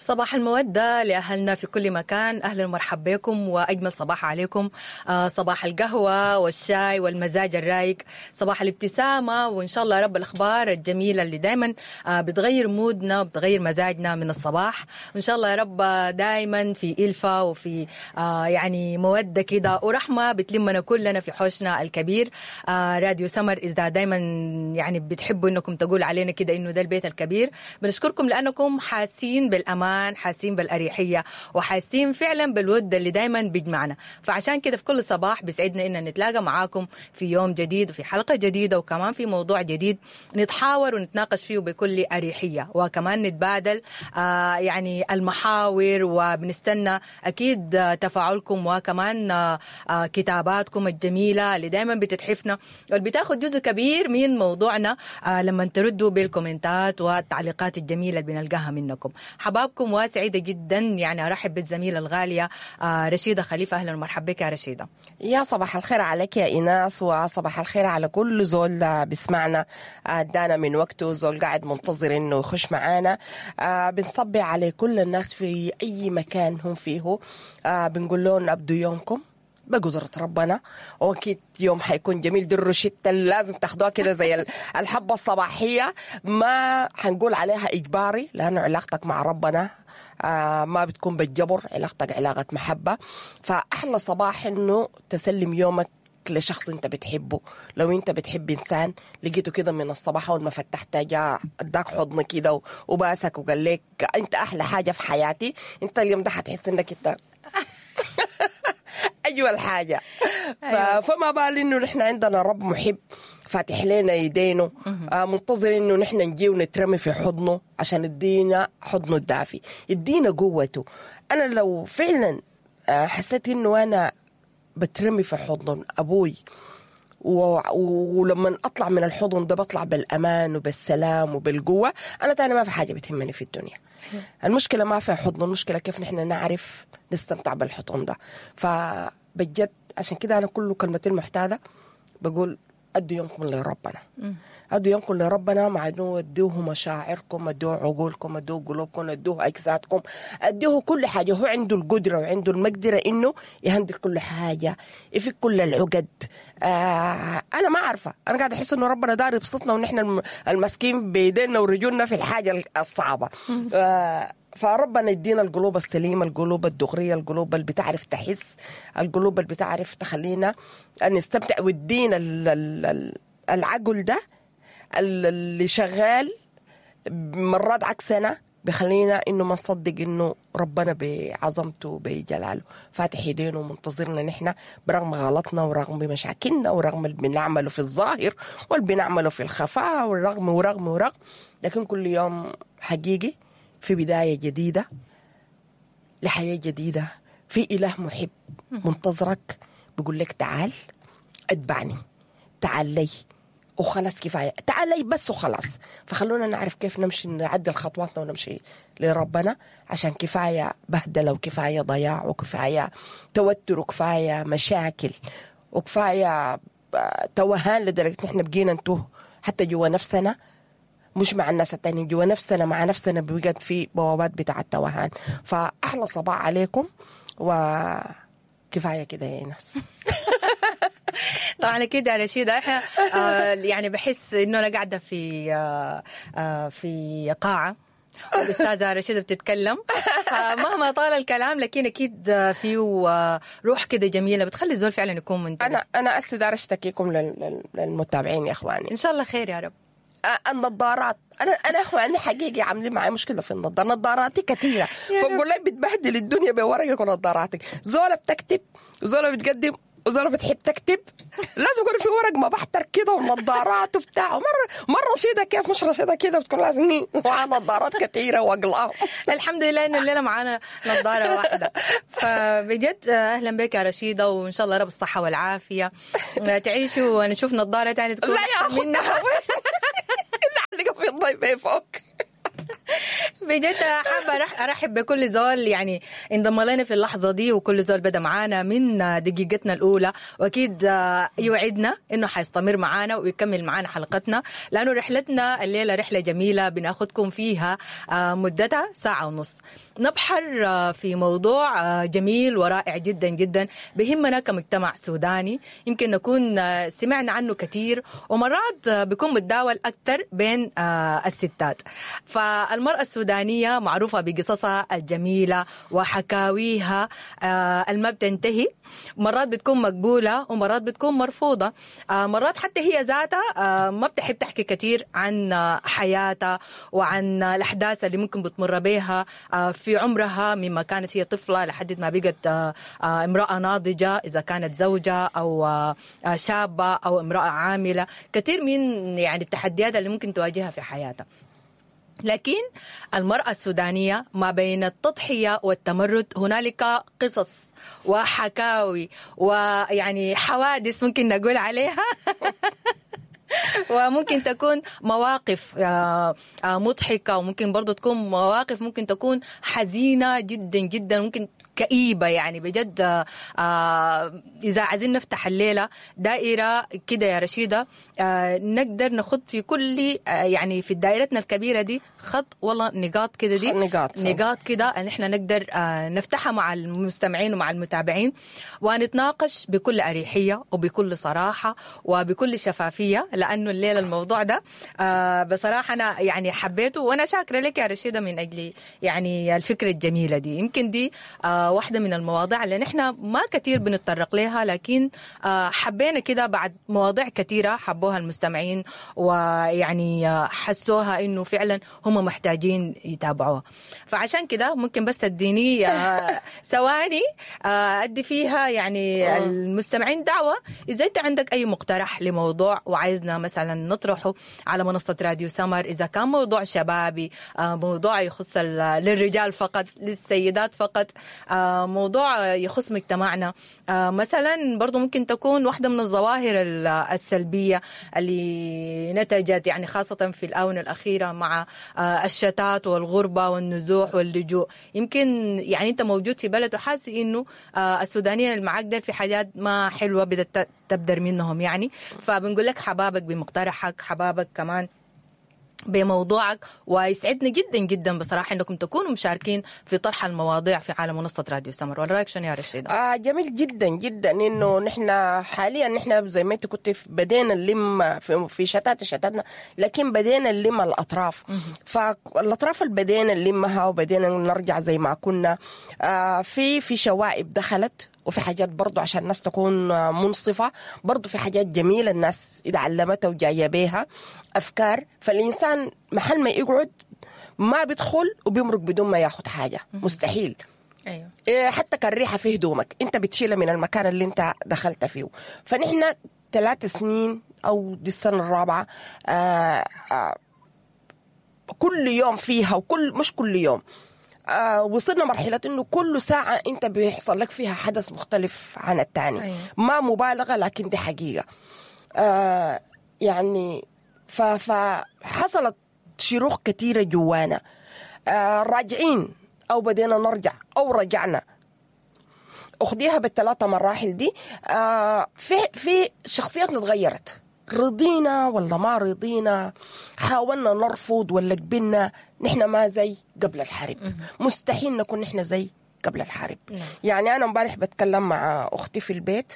صباح المودة لأهلنا في كل مكان. أهلا ومرحبا بكم وأجمل صباح عليكم. صباح القهوة والشاي والمزاج الرايق، صباح الابتسامة، وإن شاء الله رب الأخبار الجميلة اللي دايما بتغير مودنا وبتغير مزاجنا من الصباح. وإن شاء الله يا رب دايما في إلفة وفي يعني مودة كده ورحمة بتلمنا كلنا في حوشنا الكبير. راديو سمر إذا دايما يعني بتحبوا إنكم تقول علينا كده إنه ده البيت الكبير، بنشكركم لأنكم حاسين بالأمان، حاسين بالأريحية، وحاسين فعلا بالود اللي دايما بيجمعنا. فعشان كده في كل صباح بيسعدنا إن نتلاقى معاكم في يوم جديد وفي حلقة جديدة وكمان في موضوع جديد نتحاور ونتناقش فيه بكل أريحية، وكمان نتبادل يعني المحاور، وبنستنى أكيد تفاعلكم وكمان كتاباتكم الجميلة اللي دايما بتتحفنا واللي بتاخد جزء كبير من موضوعنا لما تردوا بالكومنتات والتعليقات الجميلة اللي بنلقاها منكم. حبابكم، وسعيدة جدا يعني أرحب بالزميلة الغالية رشيدة خليفة. أهلا ومرحبا بك يا رشيدة. يا صباح الخير عليك يا إيناس، وصباح الخير على كل زول بيسمعنا ادانا من وقته، زول قاعد منتظر إنه يخش معانا. بنصبي على كل الناس في أي مكان هم فيه، بنقول لهم أبدوا يومكم بقدرة ربنا، وأكيد يوم حيكون جميل. دي الروشتة اللي لازم تاخدوها كده زي الحبة الصباحية، ما حنقول عليها إجباري لأنه علاقتك مع ربنا ما بتكون بالجبر، علاقتك علاقة محبة. فأحلى صباح إنه تسلم يومك لشخص انت بتحبه. لو انت بتحب انسان لقيته كده من الصباح اول ما فتحت جاء اداك حضن كده وباسك وقال لك انت احلى حاجة في حياتي، انت اليوم ده حتحس انك انت أجمل حاجة. فما بال إنه نحن عندنا رب محب فاتح لنا يدينه، منتظر إنه نحن نجي ونترمي في حضنه عشان يدينا حضنه الدافي، يدينا قوته. أنا لو فعلا حسيت إنه أنا بترمي في حضن أبوي، ولما أطلع من الحضن ده بطلع بالأمان وبالسلام وبالقوة، أنا تاني ما في حاجة بتهمني في الدنيا. المشكلة ما في حضن، المشكلة كيف نحن نعرف نستمتع بالحضن ده. فبجد عشان كده أنا كل كلمتين المعتادة بقول أدوا يومكم لربنا، أدوا يومكم لربنا، مع إنه أدوه مشاعركم، أدوه عقولكم، أدوه قلوبكم، أدوه أجسادكم، أدوه كل حاجة. هو عنده القدرة وعنده المقدرة إنه يهندل كل حاجة، يفك كل العقد. أنا ما عارفة، أنا قاعدة أحس إنه ربنا دار يبسطنا ونحن المسكين بيدينا ورجولنا في الحاجة الصعبة. فربنا يدينا القلوب السليمة، القلوب الدغرية، القلوب اللي بتعرف تحس، القلوب اللي بتعرف تخلينا نستمتع، ويدينا العقل ده اللي شغال مرات عكسنا بخلينا إنه ما نصدق إنه ربنا بعظمته بجلاله فاتح يدينه ومنتظرنا نحن برغم غلطنا ورغم مشاكلنا ورغم اللي بنعمله في الظاهر واللي بنعمله في الخفاء والرغم ورغم ورغم، لكن كل يوم حقيقي في بداية جديدة لحياة جديدة، في إله محب منتظرك بيقول لك تعال اتبعني، تعال لي وخلاص، كفاية، تعال لي بس وخلاص. فخلونا نعرف كيف نمشي، نعدل خطواتنا ونمشي لربنا، عشان كفاية بهدلة وكفاية ضياع وكفاية توتر وكفاية مشاكل وكفاية توهان لدرجة نحن بقينا نتوه حتى جوا نفسنا، مش مع الناس التانيين، جوا نفسنا مع نفسنا بقت في بوابات بتاع التوهان. فأحلى صباح عليكم وكفاية كده يا ناس. طبعا كده يا رشيدة احنا يعني بحس انه انا قاعدة في في قاعة والأستاذة رشيدة بتتكلم، فمهما طال الكلام لكن أكيد فيه روح كده جميلة بتخلي الزول فعلا يكون منتبه. أنا أستدار أشتكيكم للمتابعين يا إخواني. إن شاء الله خير يا رب. النظارات، انا اخواني حقيقي عاملين معي مشكلة في النظارة، نظاراتي كثيرة، فبقول لك بتبهدل الدنيا بورقك ونظاراتك. زوله بتكتب وزوله بتقدم وزوله بتحب تكتب، لازم يكون في ورق ما بحتر كده ونظارات وبتاع. مرة رشيده كيف مش رشيده كده، بتكون لازم معاها نظارات كثيرة واقلام. الحمد لله انه الليلة معانا نظاره واحدة. فبجد اهلا بك يا رشيده، وان شاء الله رب الصحة والعافية تعيشوا ونشوف نظاره ثانية تكون لا يا منها. في الضيف فوق. بجد حابة ارحب بكل زول يعني انضم لنا في اللحظة دي، وكل زول بدا معانا من دقيقتنا الاولى، واكيد يوعدنا انه حيستمر معانا ويكمل معانا حلقتنا، لانه رحلتنا الليلة رحله جميلة بناخدكم فيها مدتها ساعة ونص، نبحر في موضوع جميل ورائع جدا جدا بهمنا كمجتمع سوداني، يمكن نكون سمعنا عنه كثير ومرات بيكون متداول اكثر بين الستات. فالمرأة السودانية معروفة بقصصها الجميلة وحكاويها الما بتنتهي، مرات بتكون مقبولة ومرات بتكون مرفوضة، مرات حتى هي ذاتها ما بتحب تحكي كثير عن حياتها وعن الأحداث اللي ممكن بتمر بها في عمرها مما كانت هي طفلة لحد ما بقت امرأة ناضجة، إذا كانت زوجة أو شابة أو امرأة عاملة، كثير من يعني التحديات اللي ممكن تواجهها في حياتها. لكن المرأة السودانية ما بين التضحية والتمرد هنالك قصص وحكاوي ويعني حوادث ممكن نقول عليها وممكن تكون مواقف مضحكة، وممكن برضو تكون مواقف ممكن تكون حزينة جدا جدا، ممكن كئيبة يعني بجد. إذا عايزين نفتح الليلة دائرة كده يا رشيدة، نقدر نخط في كل يعني في دائرتنا الكبيرة دي خط والله نقاط كده، دي نقاط كده ان احنا نقدر نفتحها مع المستمعين ومع المتابعين، ونتناقش بكل أريحية وبكل صراحة وبكل شفافية، لأنه الليلة الموضوع ده بصراحة أنا يعني حبيته، وأنا شاكرة لك يا رشيدة من أجل يعني الفكرة الجميلة دي. يمكن دي واحدة من المواضيع اللي نحن ما كثير بنتطرق لها، لكن حبينا كده بعد مواضيع كثيرة حبوها المستمعين ويعني حسوها إنه فعلا هم محتاجين يتابعوها. فعشان كده ممكن بس تديني ثواني أدي فيها يعني المستمعين دعوة، إذا أنت عندك أي مقترح لموضوع وعايزنا مثلا نطرحه على منصة راديو سمر، إذا كان موضوع شبابي، موضوع يخص للرجال فقط، للسيدات فقط، موضوع يخص مجتمعنا مثلا، برضو ممكن تكون واحدة من الظواهر السلبية اللي نتجت يعني خاصة في الآونة الأخيرة مع الشتات والغربة والنزوح واللجوء. يمكن يعني أنت موجود في بلد وحاسس إنه السودانيين اللي معاك ديل في حاجات ما حلوة بدأت تبدر منهم يعني، فبنقول لك حبابك بمقترحك، حبابك كمان بموضوعك، ويسعدني جدا جدا بصراحة انكم تكونوا مشاركين في طرح المواضيع في عالم منصة راديو سمر. ولا رايك شنو يا رشيدة؟ جميل جدا جدا انه نحن حاليا نحن زي ما انت كنت بدينا نلم في شتاتنا، لكن بدينا نلم الاطراف. فالاطراف اللي بدينا نلمها وبدينا نرجع زي ما كنا، في شوائب دخلت، وفي حاجات برضو عشان الناس تكون منصفة، برضو في حاجات جميلة الناس اتعلمتها وجاية بيها أفكار. فالإنسان محل ما يقعد ما بيدخل وبيمرق بدون ما ياخد حاجة، مستحيل. أيوة. حتى كالريحة في هدومك أنت بتشيلها من المكان اللي أنت دخلت فيه. فنحن 3 سنين أو دي السنة الرابعة كل يوم فيها، وكل مش كل يوم، وصلنا مرحلة إنه كل ساعة أنت بيحصل لك فيها حدث مختلف عن الثاني. أيوة. ما مبالغة لكن دي حقيقة. يعني فحصلت شروخ كثيرة جوانا، راجعين أو بدينا نرجع أو رجعنا، أخديها بالثلاثة مراحل دي. في شخصياتنا تغيرت، رضينا ولا ما رضينا، حاولنا نرفض ولا قبلنا، نحن ما زي قبل الحرب. مستحيل نكون نحن زي قبل الحرب. يعني أنا امبارح بتكلم مع أختي في البيت،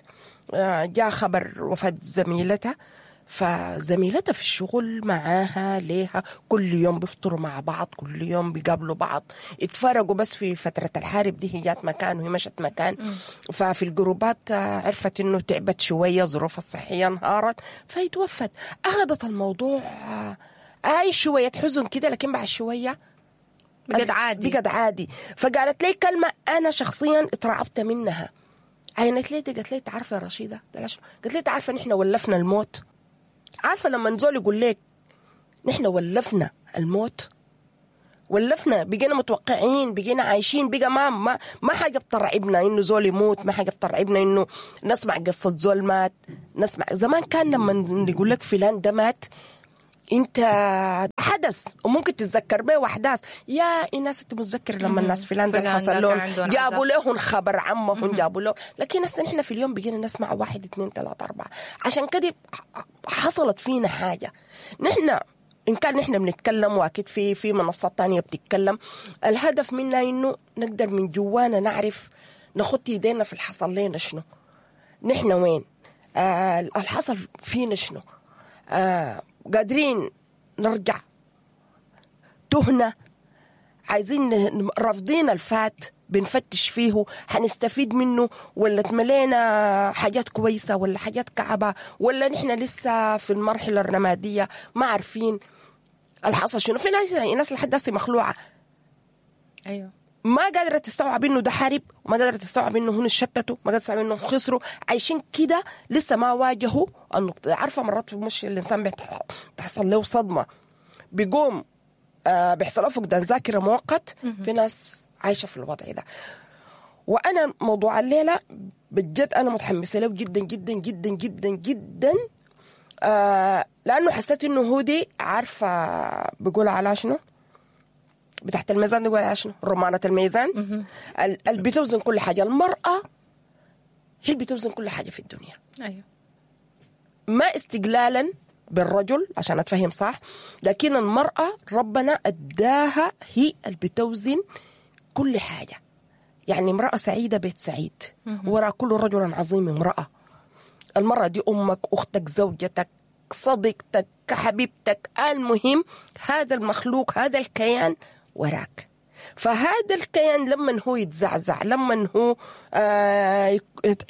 جاء خبر وفاة زميلتها، فزميلتها في الشغل معاها ليها كل يوم بيفطروا مع بعض، كل يوم بيقابلوا بعض، اتفرقوا بس في فترة الحرب دي، هي جات مكان وهي مشت مكان. ففي الجروبات عرفت انه تعبت شوية، ظروفها الصحية انهارت، فيتوفت. اخذت الموضوع اي شوية حزن كده، لكن بعد شوية بقت عادي، بقت عادي. فقالت لي كلمة انا شخصيا اترعبت منها، عينت لي، قالت لي تعرفي يا رشيدة، قالت لي تعرفي نحن ولفنا الموت. عارفة لما نزول يقول لك نحن ولفنا الموت، ولفنا، بقينا متوقعين، بقينا عايشين، بقى ما ما حاجة بترعبنا إنه زول يموت، ما حاجة بترعبنا إنه نسمع قصة زول مات. نسمع زمان كان لما يقول لك فلان ده مات، انت حدث وممكن تتذكر به احداث. يا الناس انت متذكر لما الناس فلان ده حصل لهم، جابوا لهم خبر عمهم، جابوا له. لكن هسه نحن في اليوم بقينا نسمع 1 2 3 4. عشان كده حصلت فينا حاجة. نحن ان كان نحن بنتكلم، واكيد في منصات تانية بتتكلم، الهدف منا انه نقدر من جوانا نعرف نخط يدينا في الحصل لنا شنو، نحن وين، الحصل فينا شنو، قادرين نرجع تهنا، عايزين رافضين الفات بنفتش فيه حنستفيد منه، ولا تملينا حاجات كويسة ولا حاجات كعبة، ولا نحن لسه في المرحلة الرمادية ما عارفين الحصل شنو. في ناس لحد هسه مخلوعة، ايوه، ما قادرة تستوعب انه ده حرب، وما قادرة تستوعب انه هن شتتوا، ما قادرة تستوعب انه خسروا، عايشين كده لسه ما واجهوا النقطة. عارفة مرات مش الانسان بتحصل له صدمة، بيقوم بيحصل له فقدان ذاكرة مؤقت. في ناس عايشة في الوضع ده. وأنا موضوع الليلة بجد أنا متحمسة له جدا جدا جدا جدا جدا، لأنه حسيت إنه هودي عارفة بيقول على شنو بتاعت الميزان، بيقول على شنو رمانة الميزان اللي بتوزن كل حاجة. المرأة هي اللي بتوزن كل حاجة في الدنيا. أيوه. ما استقلالا بالرجل عشان أتفهم صح، لكن المرأة ربنا أداها هي اللي بتوزن كل حاجة. يعني امرأة سعيدة بيت سعيد، وراء كل رجل عظيم امرأة. المرأة دي أمك، أختك، زوجتك، صديقتك، حبيبتك، المهم هذا المخلوق، هذا الكيان وراك. فهذا الكيان لما هو يتزعزع، لما هو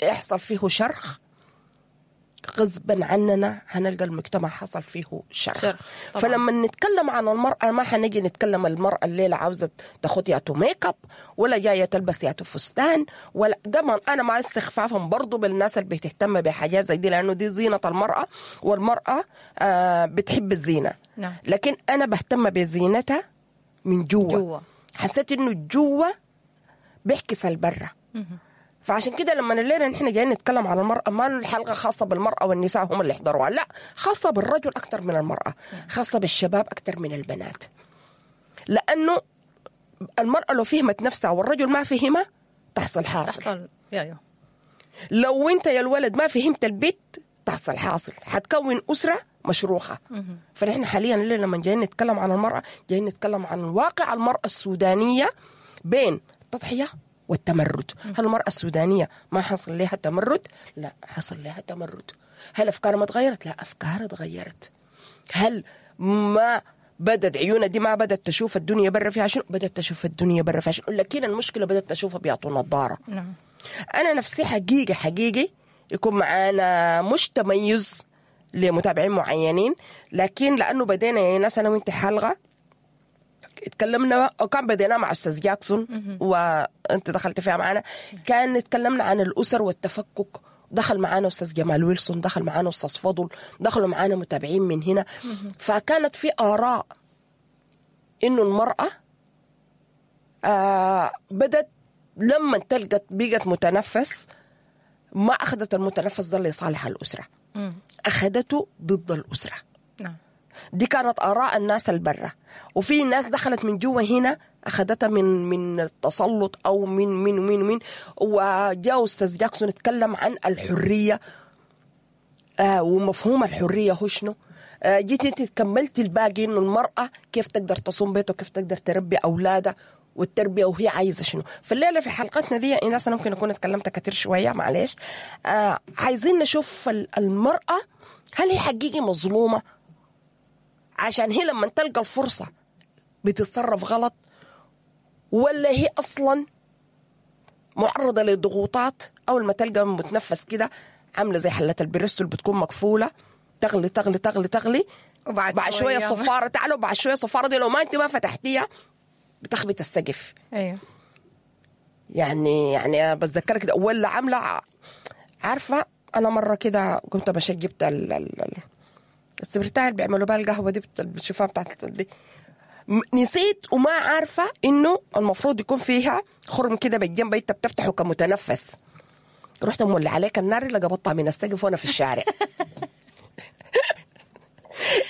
يحصل فيه شرخ، غصبا عننا هنلقى المجتمع حصل فيه شرخ. فلما نتكلم عن المرأة ما حنجي نتكلم المرأة الليلة عاوزة تاخد ياتو ميك اب، ولا جاية تلبس ياتو فستان، ولا ده. أنا مع استخفافهم برضو بالناس اللي بتهتم بحاجات زي دي، لأنه دي زينة المرأة، والمرأة بتحب الزينة. نعم. لكن أنا بهتم بزينتها من جوا. حسيت إنه جوا بيحكس البرة. فعشان كده لما الليلة نحن جايين نتكلم عن المرأة، ما الحلقة خاصة بالمرأة والنساء هم اللي يحضروها، لا، خاصة بالرجل أكثر من المرأة، خاصة بالشباب أكثر من البنات. لأنه المرأة لو فهمت نفسها والرجل ما فهمها تحصل حاصل. تحصل. يا. لو أنت يا الولد ما فهمت البيت تحصل حاصل، حتكون أسرة مشروخة. فنحن حاليا الليلة لما جايين نتكلم عن المرأة، جايين نتكلم عن واقع المرأة السودانية بين التضحية والتمرد. هل المرأة السودانية ما حصل لها تمرد؟ لا، حصل لها تمرد. هل أفكارها ما تغيرت؟ لا، أفكارها تغيرت. هل ما بدت عيونها دي ما بدت تشوف الدنيا برا فيها شنو؟ بدت تشوف الدنيا برا فيها شنو، لكن المشكلة بدت تشوفها بيعطوا نظارة. نعم. أنا نفسي حقيقي حقيقي يكون معانا مش تميز لمتابعين معينين، لكن لأنه بدينا يا ناس أنا وإنت حلقة اتكلمنا، وكان بدينا مع أستاذ جاكسون وأنت دخلت فيها معنا، كان اتكلمنا عن الأسر والتفكك، دخل معانا أستاذ جمال ويلسون، دخل معانا أستاذ فضل، دخلوا معانا متابعين من هنا. فكانت في آراء إنه المرأة بدت لما تلقت بقت متنفس، ما أخذت المتنفس ده لصالح الأسرة، أخذته ضد الأسرة. نعم. دي كانت آراء الناس البرة، وفي ناس دخلت من جوا هنا أخذتها من التسلط أو من من من من وجاء أستاذ جاكسون اتكلم عن الحرية ومفهوم الحرية هو شنو. جيت انت كملت الباقي إنه المرأة كيف تقدر تصوم بيته، كيف تقدر تربي أولادها والتربية وهي عايزة شنو. فالليلة في حلقتنا دي الناس أنا ممكن أكون اتكلمت كتير شوية، معلش. عايزين نشوف المرأة هل هي حقيقي مظلومة، عشان هي لما تلقى الفرصة بتتصرف غلط، ولا هي أصلا معرضة لضغوطات. أول ما تلقى متنفس كده عاملة زي حلة البريستو اللي بتكون مقفولة، تغلي تغلي تغلي تغلي، وبعد شوية الصفارة تعالوا، وبعد شوية الصفارة دي لو ما أنت ما فتحتيها بتخبط السقف. أيوه. يعني بتذكرك كده. ولا عاملة، عارفة أنا مرة كده كنت مشيت جبت السبرتاية اللي بيعملوا بها القهوة دي، بتشوفها بتاعت دي، نسيت وما عارفة إنه المفروض يكون فيها خرم كده بالجنب أنت بتفتحه كمتنفس. رحت مولع عليك النار اللي قبضتها من السقف وأنا في الشارع.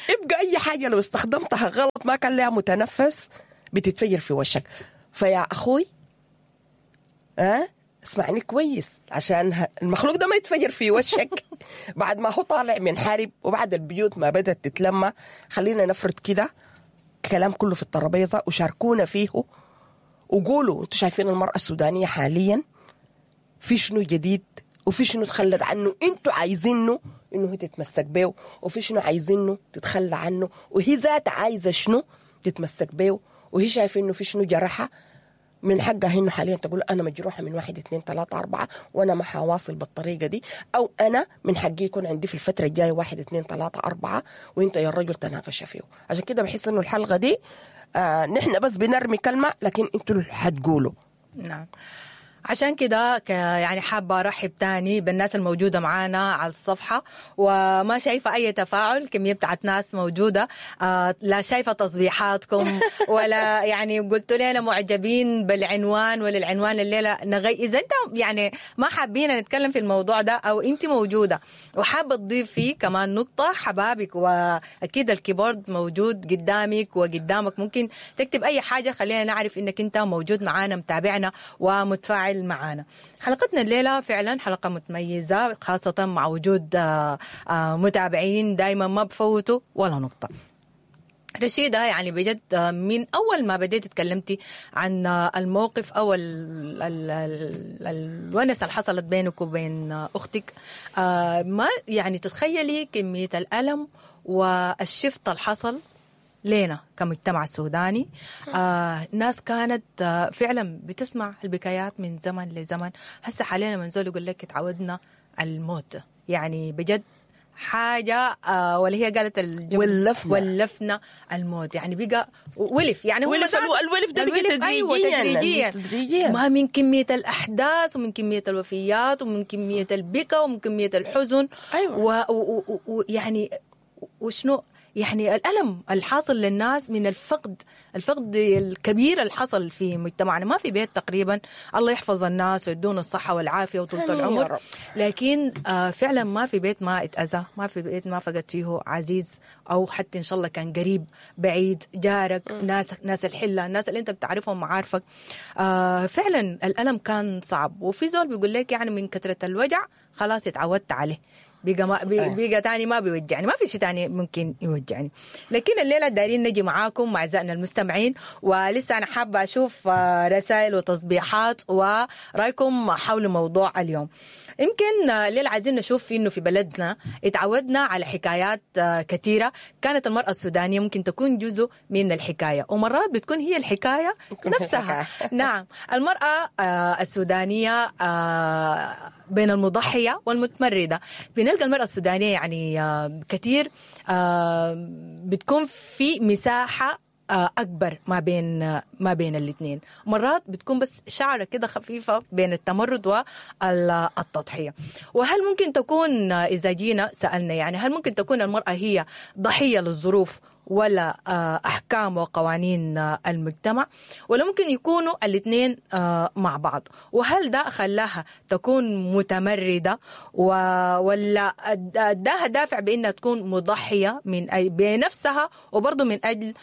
يبقى اي حاجة لو استخدمتها غلط ما كان لها متنفس بتتفجر في وشك. فيا اخوي اسمعني كويس عشان المخلوق ده ما يتفجر في وشك بعد ما هو طالع من حرب وبعد البيوت ما بدأت تتلمى. خلينا نفرد كده كلام كله في الترابيزة وشاركونا فيه وقولوا انتوا شايفين المرأة السودانية حاليا في شنو جديد، وفي شنو تخلت عنه انتوا عايزينه انه هي تتمسك بيه، وفي شنو عايزينه تتخلى عنه، وهي ذات عايزة شنو تتمسك بيه، وهي شايفة انه في شنو جرحها. من حقها انه حاليا تقول انا مجروحة من 1 2 3 4 وانا ما حواصل بالطريقة دي، او انا من حقي يكون عندي في الفترة الجاية 1 2 3 4، وانت يا الرجل تناقش فيه. عشان كده بحس انه الحلقة دي نحن بس بنرمي كلمة لكن انتوا حتقولوا. نعم، عشان كده يعني حابة أرحب تاني بالناس الموجودة معانا على الصفحة، وما شايفة أي تفاعل، كمية بتاعت ناس موجودة، لا شايفة تصبيحاتكم ولا يعني قلت لنا معجبين بالعنوان ولا العنوان الليلة نغي. إذا أنت يعني ما حابين نتكلم في الموضوع ده أو أنت موجودة وحابة تضيف فيه كمان نقطة، حبابك وأكيد الكيبورد موجود قدامك وقدامك، ممكن تكتب أي حاجة، خلينا نعرف إنك أنت موجود معانا متابعنا ومتفاعل معانا. حلقتنا الليلة فعلا حلقة متميزة، خاصة مع وجود متابعين دايما ما بفوتوا ولا نقطة. رشيدة، يعني بجد من أول ما بديت تكلمتي عن الموقف أو الونسة اللي حصلت بينك وبين أختك، ما يعني تتخيلي كمية الألم والشفت اللي حصل لينا كمجتمع سوداني. ناس كانت فعلا بتسمع البكايات من زمن لزمن، هسه حاليا من زول يقول لك تعودنا الموت، يعني بجد حاجة ولا هي قالت ولفنا الموت، يعني بقى ولف، يعني ولف الولف ده بقى تدريجيا. أيوة تدريجيا، ما من كمية الأحداث ومن كمية الوفيات ومن كمية البكا ومن كمية الحزن. أيوة. ويعني وشنو يعني الألم الحاصل للناس من الفقد الكبير اللي حصل في مجتمعنا. ما في بيت تقريبا، الله يحفظ الناس ويدون الصحة والعافية وطولة العمر، لكن فعلا ما في بيت ما اتأذى، ما في بيت ما فقد فيه عزيز أو حتى إن شاء الله كان قريب بعيد، جارك، ناس الحلة، الناس اللي أنت بتعرفهم معارفك. فعلا الألم كان صعب. وفي زول بيقول لك يعني من كثرة الوجع خلاص اتعودت عليه، بقى تاني ما بيوجعني، ما في شيء تاني ممكن يوجعني. لكن الليلة دايرين نجي معاكم أعزائنا المستمعين، ولسه أنا حابة أشوف رسائل وتصبيحات ورأيكم حول موضوع اليوم. يمكن الليلة عايزين نشوف إنه في بلدنا اتعودنا على حكايات كثيرة كانت المرأة السودانية ممكن تكون جزء من الحكاية، ومرات بتكون هي الحكاية نفسها. نعم، المرأة السودانية بين المضحية والمتمردة. بنلقى المرأة السودانية يعني كثير بتكون في مساحة أكبر ما بين الاثنين، مرات بتكون بس شعرة كده خفيفة بين التمرد والتضحية. وهل ممكن تكون إذا جينا سألنا يعني هل ممكن تكون المرأة هي ضحية للظروف ولا أحكام وقوانين المجتمع، ولا ممكن يكونوا الاثنين مع بعض؟ وهل ده خلاها تكون متمردة ولا ده دافع بأنها تكون مضحية من أي بنفسها وبرضه من أجل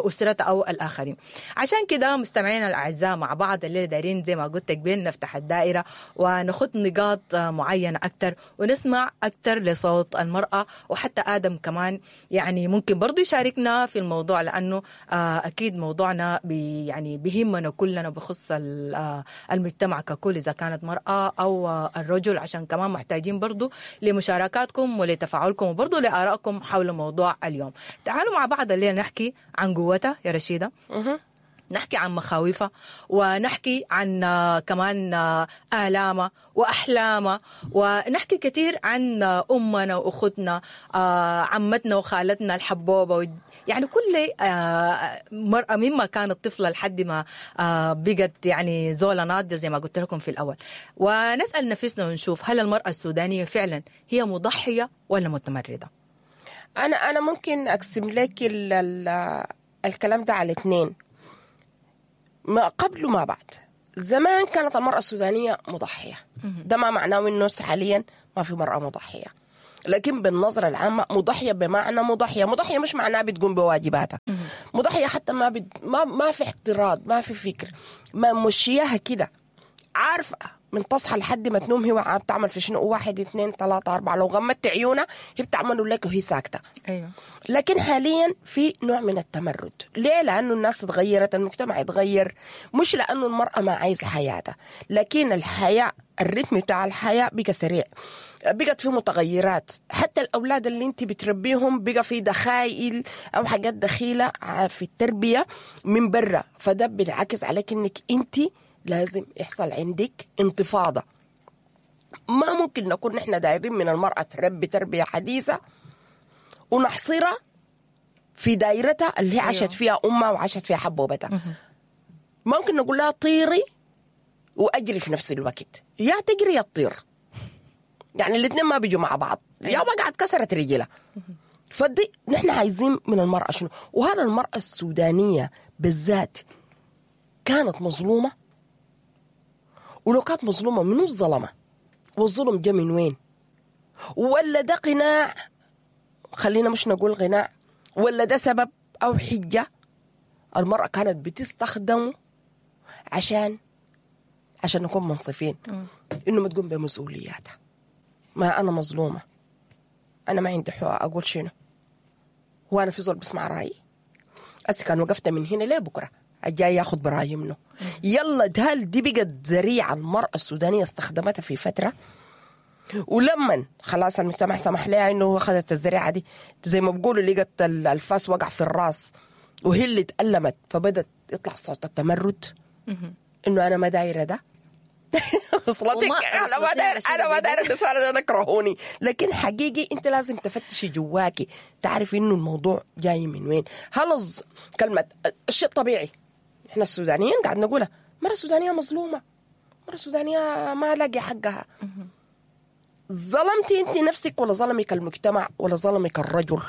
أسرتها أو الآخرين؟ عشان كده مستمعينا الأعزاء مع بعض الليلة دايرين زي ما قلت بين نفتح الدائرة ونخط نقاط معينة أكتر ونسمع أكتر لصوت المرأة، وحتى آدم كمان يعني ممكن برضو يشاركنا في الموضوع، لأنه أكيد موضوعنا يعني بيهمنا كلنا بخص المجتمع ككل، إذا كانت مرأة أو الرجل، عشان كمان محتاجين برضو لمشاركاتكم ولتفاعلكم وبرضو لآرائكم حول موضوع اليوم. تعالوا مع بعض الليلة نحكي عن قوتها يا رشيدة، نحكي عن مخاوفها، ونحكي عن كمان آلامها وأحلامها، ونحكي كثير عن أمنا وأختنا، عمتنا وخالتنا الحبوبة، يعني كل مرأة مما كانت طفلة لحد ما بقت يعني زولة ناضجة زي ما قلت لكم في الأول. ونسأل نفسنا ونشوف هل المرأة السودانية فعلا هي مضحية ولا متمردة؟ أنا ممكن أقسم لك الكلام ده على اثنين، ما قبل وما بعد. زمان كانت المرأة السودانية مضحية، ده ما معناه إنه حاليا ما في مرأة مضحية، لكن بالنظرة العامة مضحيه بمعنى مضحيه، مضحيه مش معناها بتقوم بواجباتها، مضحيه حتى ما في احتراض، ما في فكر، ما مشياها كده، عارفه من تصحى لحد ما تنوم هي بتعمل في شنو، 1 2 3 4، لو غمضت عيونها هي بتعمله لك وهي ساكته. ايوه. لكن حاليا في نوع من التمرد. ليه؟ لانه الناس تغيرت، المجتمع اتغير، مش لانه المراة ما عايزه حياتها، لكن الحياة، الريتم بتاع الحياة بقى سريع، بقت في متغيرات، حتى الاولاد اللي انت بتربيهم بقى في دخائل او حاجات دخيله في التربية من برا، فده بينعكس عليك انك انت لازم يحصل عندك انتفاضة. ما ممكن نكون نحن دايرين من المرأة تربي تربية حديثة ونحصرها في دايرتها اللي هي عاشت فيها أمها وعاشت فيها حبوبتها. ممكن نقول لها طيري وأجري في نفس الوقت، يا تجري يا تطير، يعني الاثنين ما بيجوا مع بعض، يا وقعت كسرت رجلها. فدي نحن عايزين من المرأة شنو؟ وهذا المرأة السودانية بالذات كانت مظلومة، ولو كانت مظلومة منو الظلمة؟ والظلم جا من وين؟ ولا ده قناع، خلينا مش نقول قناع، ولا ده سبب أو حجة المرأة كانت بتستخدمه عشان نكون منصفين، إنه ما تقوم بمسؤولياتها. ما أنا مظلومة، أنا ما عندي حق أقول شنو، هو أنا في زول بسمع رأيي؟ أسي كان وقفت من هنا ليه بكرة الجاي ياخد برايي منه. يلا هل دي بقت ذريعة المرأة السودانية استخدمتها في فترة، ولما خلاص المجتمع سمح لها انه اخذت الذريعة دي، زي ما بيقولوا لقت الفاس وقع في الراس وهي اللي تألمت، فبدت يطلع صوت التمرد انه انا ما دايرة ده. وصلتك؟ انا ما داير، انا ما داير النسوان انا كرهوني. لكن حقيقي انت لازم تفتشي جواكي تعرفي انه الموضوع جاي من وين. هل كلمة الشيء الطبيعي احنا السودانيين قاعد نقولها، مرة السودانية مظلومة، مرة السودانية ما لاقي حقها. ظلمتي انت نفسك ولا ظلمك المجتمع ولا ظلمك الرجل؟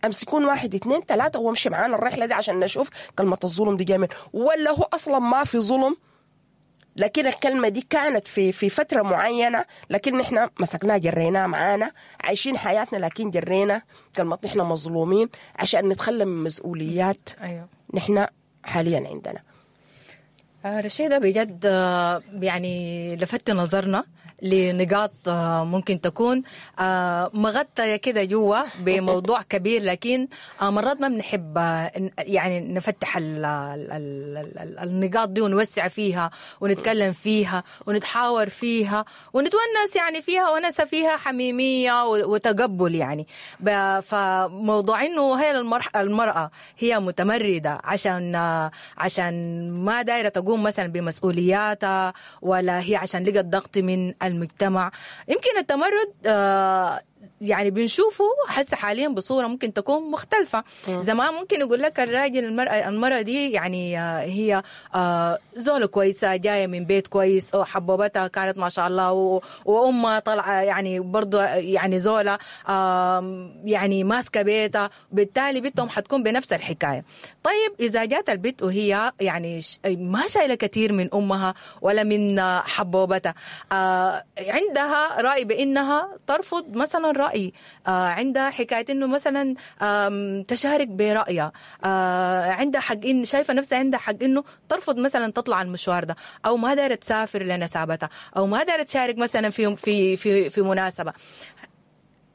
امسكون 1 2 3 وامشي معانا الرحلة دي عشان نشوف كلمة الظلم دي جاية من، ولا هو اصلا ما في ظلم، لكن الكلمة دي كانت في فترة معينة، لكن نحن مسكناها جريناها معانا، عايشين حياتنا لكن جرينا كلمة نحن مظلومين عشان نتخلى من مسؤوليات. أيوه. نحن حاليا عندنا. رشيدة بجد يعني لفت نظرنا لنقاط ممكن تكون مغطية كده جوا بموضوع كبير، لكن مرات ما بنحب يعني نفتح النقاط دي ونوسع فيها ونتكلم فيها ونتحاور فيها ونتونس يعني فيها، ونسى فيها حميمية وتقبل يعني. فموضوع إنه هي المرأة هي متمردة عشان ما دايرة تقوم مثلا بمسؤولياتها، ولا هي عشان لقت ضغط من المجتمع. يمكن التمرد يعني بنشوفه حس حاليا بصورة ممكن تكون مختلفة. زمان ممكن يقول لك الراجل المرأة دي يعني هي زولة كويسة، جاية من بيت كويس، أو حبوبتها كانت ما شاء الله، وأمها طالعة يعني برضو يعني زولة يعني ماسكة بيتها، بالتالي بنتهم حتكون بنفس الحكاية. طيب إذا جات البنت وهي يعني ما شايلة كثير من أمها ولا من حبوبتها، عندها رأي بأنها ترفض مثلا رأي، عندها حكاية إنه مثلا تشارك برأيها، عندها حق إن شايفة نفسها عندها حق إنه ترفض مثلا تطلع المشوار ده، أو ما دارت تسافر لنسابتها، أو ما دارت تشارك مثلا في في في في مناسبة.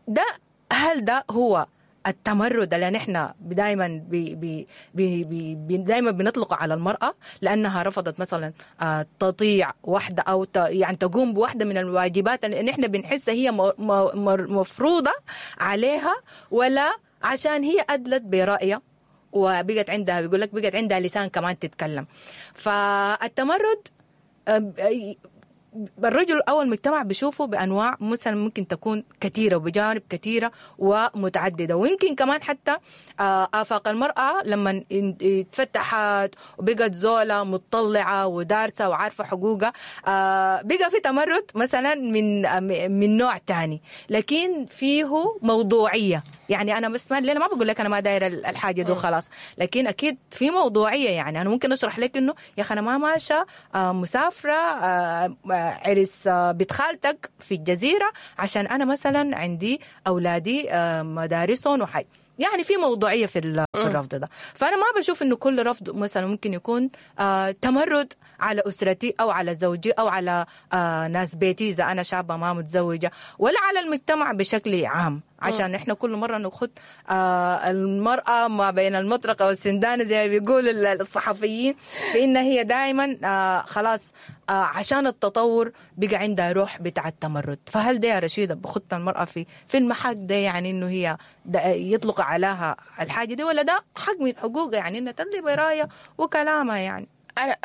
ده هل ده هو التمرد اللي نحن دائما بي بي بي بي دائما بنطلقه على المرأة لأنها رفضت مثلا تطيع واحدة أو يعني تقوم بواحدة من الواجبات اللي نحن بنحسها هي مفروضة عليها، ولا عشان هي أدلت برأيها وبقت عندها، بيقول لك بقت عندها لسان كمان تتكلم. فالتمرد الرجل أو المجتمع بيشوفه بأنواع مثلا ممكن تكون كثيرة وبجانب كثيرة ومتعددة، ويمكن كمان حتى آفاق المرأة لما اتفتحت وبقت زولة متطلعة ودارسة وعارفة حقوقها، بقى في تمرد مثلا من نوع تاني، لكن فيه موضوعية. يعني انا بس ما الليلة ما بقول لك انا ما دايرة الحاجة دي وخلاص، لكن اكيد في موضوعية. يعني انا ممكن اشرح لك انه يا اخي انا ما ماشية مسافرة عرس بنت خالتك في الجزيرة عشان انا مثلا عندي اولادي مدارسهم وحي، يعني في موضوعية في الرفض ده. فانا ما بشوف انه كل رفض مثلا ممكن يكون تمرد على اسرتي او على زوجي او على ناس بيتي اذا انا شابه ما متزوجة، ولا على المجتمع بشكل عام، عشان احنا كل مرة نخد المراة ما بين المطرقة والسندانه زي ما بيقولوا الصحفيين، فان هي دائما خلاص عشان التطور بقى عندها روح بتاع التمرد. فهل ده يا رشيده بخط المراة في المحك ده، يعني انه هي يطلق عليها الحاجة دي، ولا ده حق من حقوقها يعني انها تدلي برايه وكلامها؟ يعني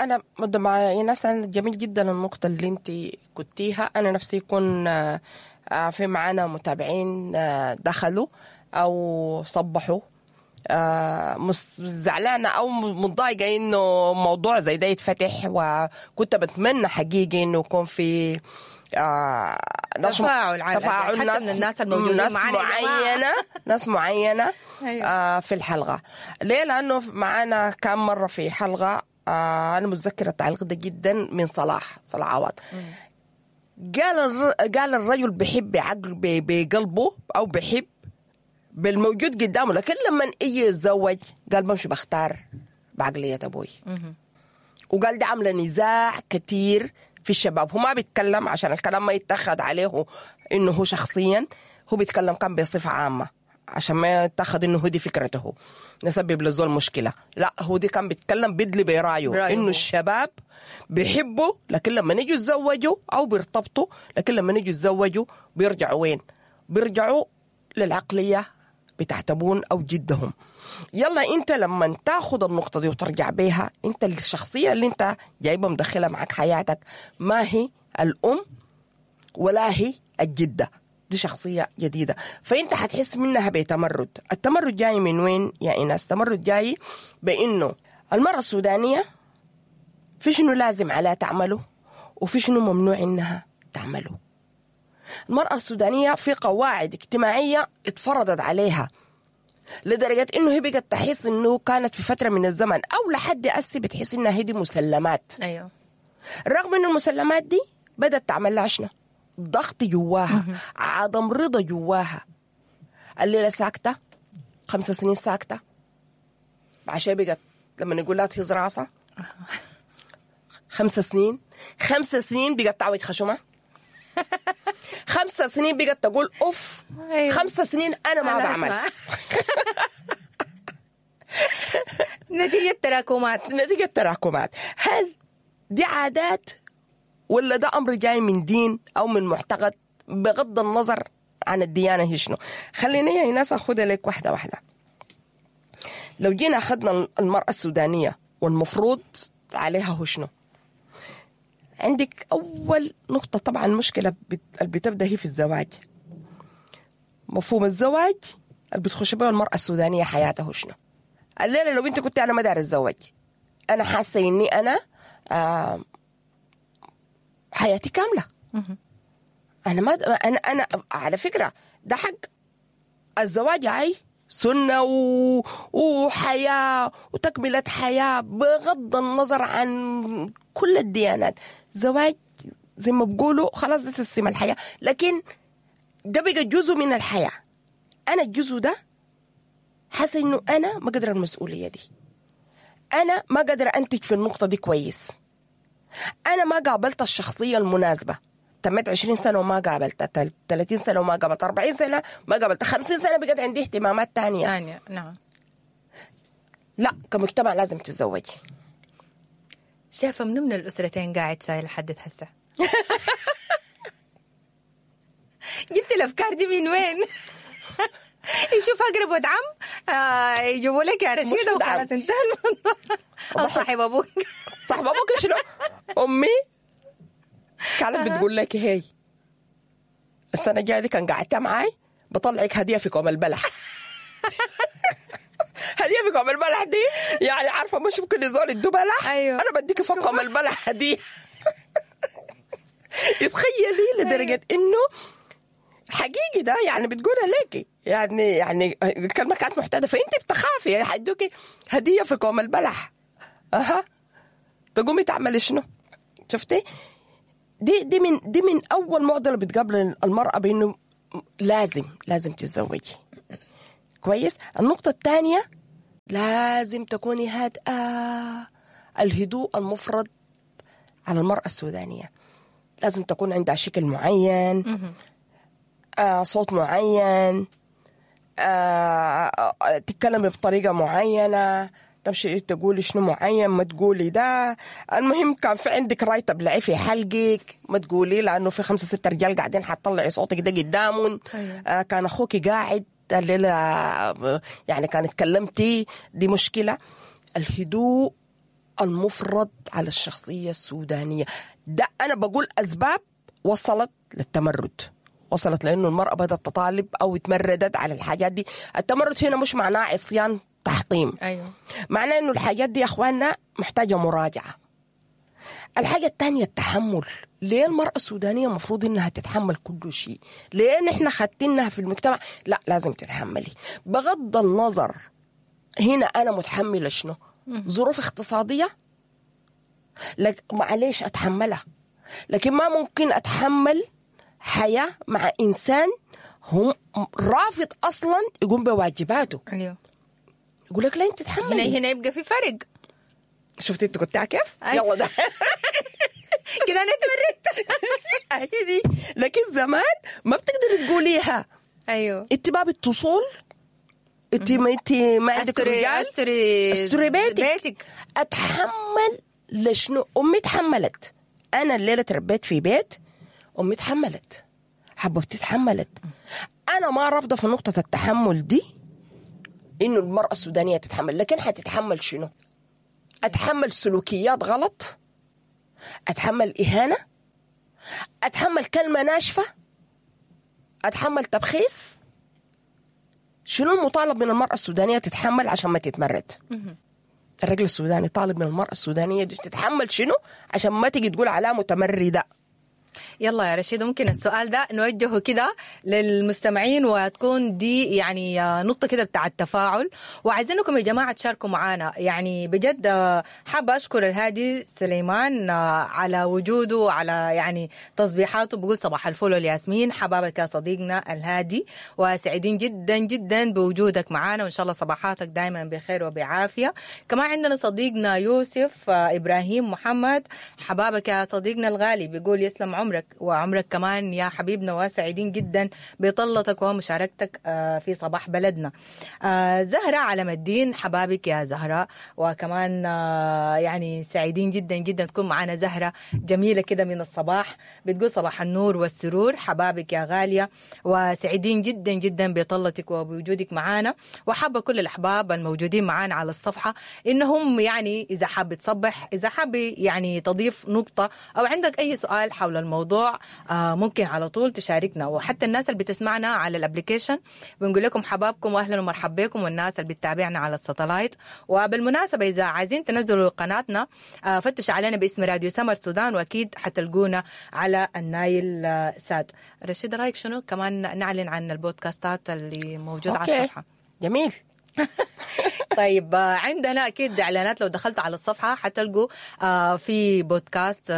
انا مع ناس، أنا جميل جدا النقطة اللي انت قلتيها. انا نفسي يكون في معانا متابعين دخلوا او صبحوا زعلانة او متضايقة انه موضوع زي ده يتفتح، وكنت بتمنى حقيقي انه يكون في تفاعل حتى ناس من الناس الموجودين ناس معنا معينة ناس معينة في الحلقة. ليه؟ لانه معانا كم مرة في حلقة انا متذكرة التعليق ده جدا من صلاح عوض. قال الرجل بحب بعقل بقلبه او بحب بالموجود قدامه، لكن لما يجي يتزوج قال بمشي بختار بعقلية ابوي. وقال ده عامله نزاع كتير في الشباب. هو ما بيتكلم عشان الكلام ما يتخذ عليه انه هو شخصيا، هو بيتكلم كان بصفة عامة عشان ما يتخذ انه هو دي فكرته نسبب للزول مشكلة. لا، هو دي كان بيتكلم بدلي برايه انه الشباب بيحبوا، لكن لما نيجوا يتزوجوا او بيرتبطوا، لكن لما نيجوا يتزوجوا بيرجعوا وين؟ بيرجعوا للعقليه بتاعت ابوهم او جدهم. يلا انت لما تاخد النقطة دي وترجع بيها، انت الشخصية اللي انت جايبها مدخلها معك حياتك ما هي الام ولا هي الجدة، دي شخصية جديدة، فانت حتحس منها بتمرد. التمرد جاي من وين يا ايناس؟ التمرد جاي بانه المراة السودانية في شنو لازم عليها تعمله وفي شنو ممنوع انها تعمله. المرأة السودانية في قواعد اجتماعية اتفرضت عليها لدرجة انه هي بقت تحس انه كانت في فترة من الزمن او لحد أسي بتحس انها هي دي مسلمات. ايوه، رغم انه المسلمات دي بدأت تعمل لها شنو؟ ضغط جواها، عدم رضا جواها. الليلة ساكتة 5 سنين ساكتة، عشان بقت لما نقول لها تهز راسها 5 سنين، 5 سنين بقت تعوج خشمها، 5 سنين بقت تقول اوف، 5 سنين انا ما بعمل. نتيجة تراكمات، نتيجة تراكمات. هل دي عادات ولا ده امر جاي من دين او من معتقد؟ بغض النظر عن الديانة هي شنو. خليني يا ناس اخذها لك واحدة واحدة. لو جينا اخذنا المرأة السودانية والمفروض عليها هو شنو؟ عندك أول نقطة طبعا المشكلة اللي بتبدأ هي في الزواج. مفهوم الزواج اللي بتخش به المرأة السودانية حياته شنو؟ الليلة لو انت كنت أنا ما دار الزواج، أنا حاسة إني أنا حياتي كاملة. أنا ما أنا على فكرة ده حق الزواج، عاي سنة وحياة وتكملة حياة بغض النظر عن كل الديانات. زواج زي ما بقولوا خلاص ده تسليم الحياة، لكن ده بقى جزء من الحياة. أنا الجزء ده حاسة إنه أنا ما قادرة المسؤولية دي، أنا ما قادرة أنتج في النقطة دي كويس، أنا ما قابلت الشخصية المناسبة. تمت 20 سنة وما قابلتها، 30 سنة وما قابلتها، 40 سنة ما قابلتها، 50 سنة بقت عندي اهتمامات تانية. نعم. لا، كمجتمع لازم تتزوجي. شايفة من الأسرتين قاعد سايل لحد هسه؟ جبت الأفكار دي من وين؟ يشوف أقرب ود عم يجيبوا لك يا رشيدة وخلاص انتهى الموضوع. أو صاحب أبوك. صاحب أبوك شنو؟ أمي كانت بتقول لك هي السنة الجاية دي كان قعدتها معاي بطلعك هدية في كوم البلح. هدية في كوم البلح دي يعني عارفة مش ممكن يزول يدو بلح. أيوه. أنا بديك فوق كوم البلح هدية. يتخيلي لدرجة إنه حقيقي ده يعني بتقولها لك يعني الكلمة كانت معتادة، فانت بتخافي حيدوكي هديه في كوم البلح. اها تقومي تعملي شنو؟ شفتي؟ دي من اول معضلة بتقابل المراة بانه لازم تتزوجي. كويس. النقطة الثانية لازم تكوني هادئة. الهدوء المفرط على المراة السودانية، لازم تكون عندها شكل معين، صوت معين، تتكلمي بطريقة معينة، تمشي تقولي شنو معين، ما تقولي ده. المهم كان في عندك راي تبلعي في حلقك، ما تقولي لانه في 5 6 رجال قاعدين حتطلعي صوتك ده قدامهم. أيوة. كان اخوك قاعد الليلة يعني كان اتكلمتي، دي مشكلة. الهدوء المفرط على الشخصية السودانية ده انا بقول اسباب وصلت للتمرد، وصلت لانه المراة بدات تطالب او تمردت على الحاجات دي. التمرد هنا مش معناه عصيان تحطيم. أيوة. معناه انه الحاجات دي يا اخواننا محتاجه مراجعه. الحاجة الثانية التحمل. ليه المراة السودانية المفروض انها تتحمل كل شيء؟ ليه نحن خدتينها في المجتمع؟ لا لازم تتحملي بغض النظر. هنا انا متحملة شنو؟ ظروف اقتصادية، لك معليش اتحملها، لكن ما ممكن اتحمل حياة مع انسان هم رافض اصلا يقوم بواجباته. ايوه. يقول لك لا انت تتحملي. هنا يبقى في فرق. شفتي انت قلتها كيف؟ يلا ده كده انا اتمردت. دي لكن زمان ما بتقدري تقوليها. ايوه. انت ما بتصول، انت ما عندك رجال، استري بيتك. اتحمل لشنو؟ امي تحملت. انا الليلة تربيت في بيت امي تحملت، حبوبتي تحملت. انا ما رافضه في نقطة التحمل دي انه المراة السودانية تتحمل، لكن حتتحمل شنو؟ اتحمل سلوكيات غلط، اتحمل اهانه، اتحمل كلمة ناشفة، اتحمل تبخيس. شنو المطالب من المراة السودانية تتحمل عشان ما تتمرد؟ الرجل السوداني طالب من المراة السودانية دي تتحمل شنو عشان ما تيجي تقول على متمرده؟ يلا يا رشيد، ممكن السؤال ده نوجهه كده للمستمعين وتكون دي يعني نقطة كده بتاع التفاعل، وعايزينكم يا جماعة تشاركوا معانا. يعني بجد حابة أشكر الهادي سليمان على وجوده وعلى يعني تصبيحاته، بقول صباح الفل والياسمين. حبابك يا صديقنا الهادي، وسعيدين جدا جدا بوجودك معانا، وإن شاء الله صباحاتك دايما بخير وبعافية. كمان عندنا صديقنا يوسف إبراهيم محمد، حبابك يا صديقنا الغالي، بيقول يسلم عمرك وعمرك كمان يا حبيبنا، وسعيدين جدا بطلتك ومشاركتك في صباح بلدنا. زهرة علم الدين، حبابك يا زهرة، وكمان يعني سعيدين جدا جدا تكون معنا زهرة جميلة كده من الصباح، بتقول صباح النور والسرور. حبابك يا غالية، وسعيدين جدا جدا بطلتك وبوجودك معنا. وحابة كل الأحباب الموجودين معنا على الصفحة إنهم يعني إذا حاب تصبح، إذا حاب يعني تضيف نقطة أو عندك أي سؤال حول الموضوع ممكن على طول تشاركنا. وحتى الناس اللي بتسمعنا على ال application بنقول لكم حبابكم واهلا ومرحبا بكم، والناس اللي بتتابعنا على ال satellite. وبالمناسبة اذا عايزين تنزلوا قناتنا فتشوا علينا باسم راديو سمر سودان، واكيد حتلقونا على النايل سات. رشيد رايك شنو كمان نعلن عن البودكاستات اللي موجودة على الصفحة؟ جميل. طيب عندنا أكيد إعلانات، لو دخلت على الصفحة حتلقوا في بودكاست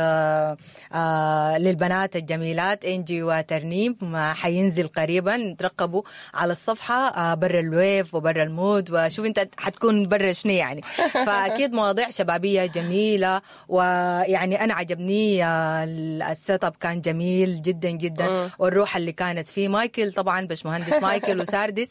للبنات الجميلات إنجي وترنيم، حينزل قريبا، ترقبوا على الصفحة. برا ال wave وبرا ال mood، وشوف أنت حتكون برا شنو يعني. فأكيد مواضيع شبابية جميلة، ويعني أنا عجبني ال setup كان جميل جدا جدا، والروح اللي كانت فيه. مايكل طبعا باشمهندس مايكل وساردس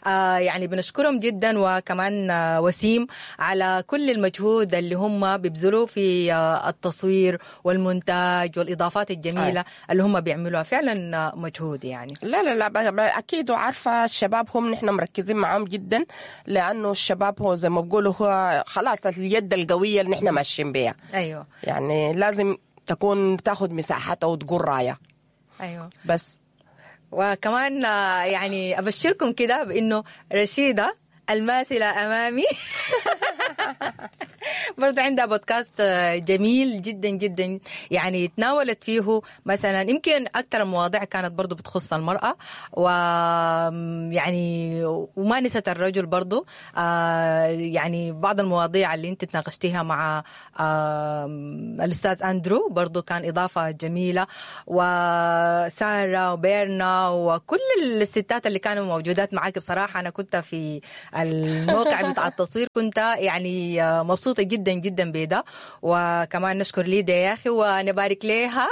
يعني بنشكرهم جدا، وكمان وسيم على كل المجهود اللي هم بيبذلوه في التصوير والمونتاج والإضافات الجميلة اللي هم بيعملوها. فعلا مجهود يعني. لا لا لا أكيد، وعارفة الشباب هم نحن مركزين معهم جدا، لأنه الشباب هو زي ما بقولوا هو خلاص اليد القوية اللي نحن ماشيين بيها. أيوة. يعني لازم تكون تاخد مساحتها وتقول راية. أيوة. بس وكمان يعني أبشركم كده بأنه رشيدة الماثلة أمامي برضه عندها بودكاست جميل جدا جدا، يعني تناولت فيه مثلا يمكن أكثر المواضيع كانت برضه بتخص المرأة، ويعني وما نست الرجل برضه. يعني بعض المواضيع اللي انت تناقشتيها مع الأستاذ أندرو برضه كان إضافة جميلة، وسارة وبيرنا وكل الستات اللي كانوا موجودات معاك. بصراحة أنا كنت في الموقع بتاع التصوير كنت يعني مبسوطة جدا جدا بده. وكمان نشكر ليديا يا أخي ونبارك لها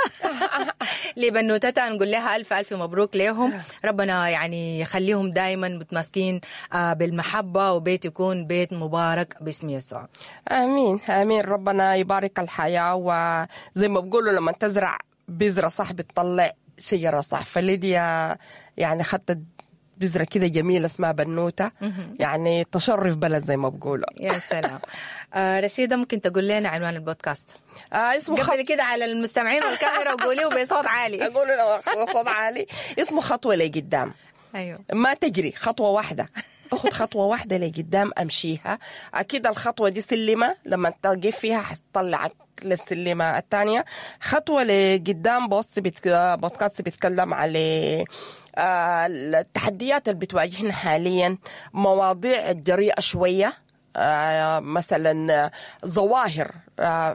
لبنوتتها، نقول لها ألف ألف مبروك لهم، ربنا يعني يخليهم دائما متماسكين بالمحبة، وبيت يكون بيت مبارك باسم يسوع. آمين آمين، ربنا يبارك الحياة. وزي ما بقولوا لما تزرع بذرة صح بتطلع شجرة صح، فليديا يعني خدت بذرة كده جميلة اسمها بنوتة، يعني تشرف بلد زي ما بقولوا. يا سلام. رشيدة ممكن تقول لنا عنوان البودكاست؟ اسمه قبل كده على المستمعين والكاميرا وقوليه بصوت عالي. أقوله بصوت عالي، اسمه خطوة لقدام. أيوه، ما تجري، خطوة واحدة، أخذ خطوة واحدة لقدام أمشيها. أكيد الخطوة دي سلمة، لما تقف فيها حتطلعك للسلمة الثانية. خطوة لقدام بودكاست بيتكلم على التحديات اللي بتواجهنا حاليا، مواضيع جريئة شوية، مثلا ظواهر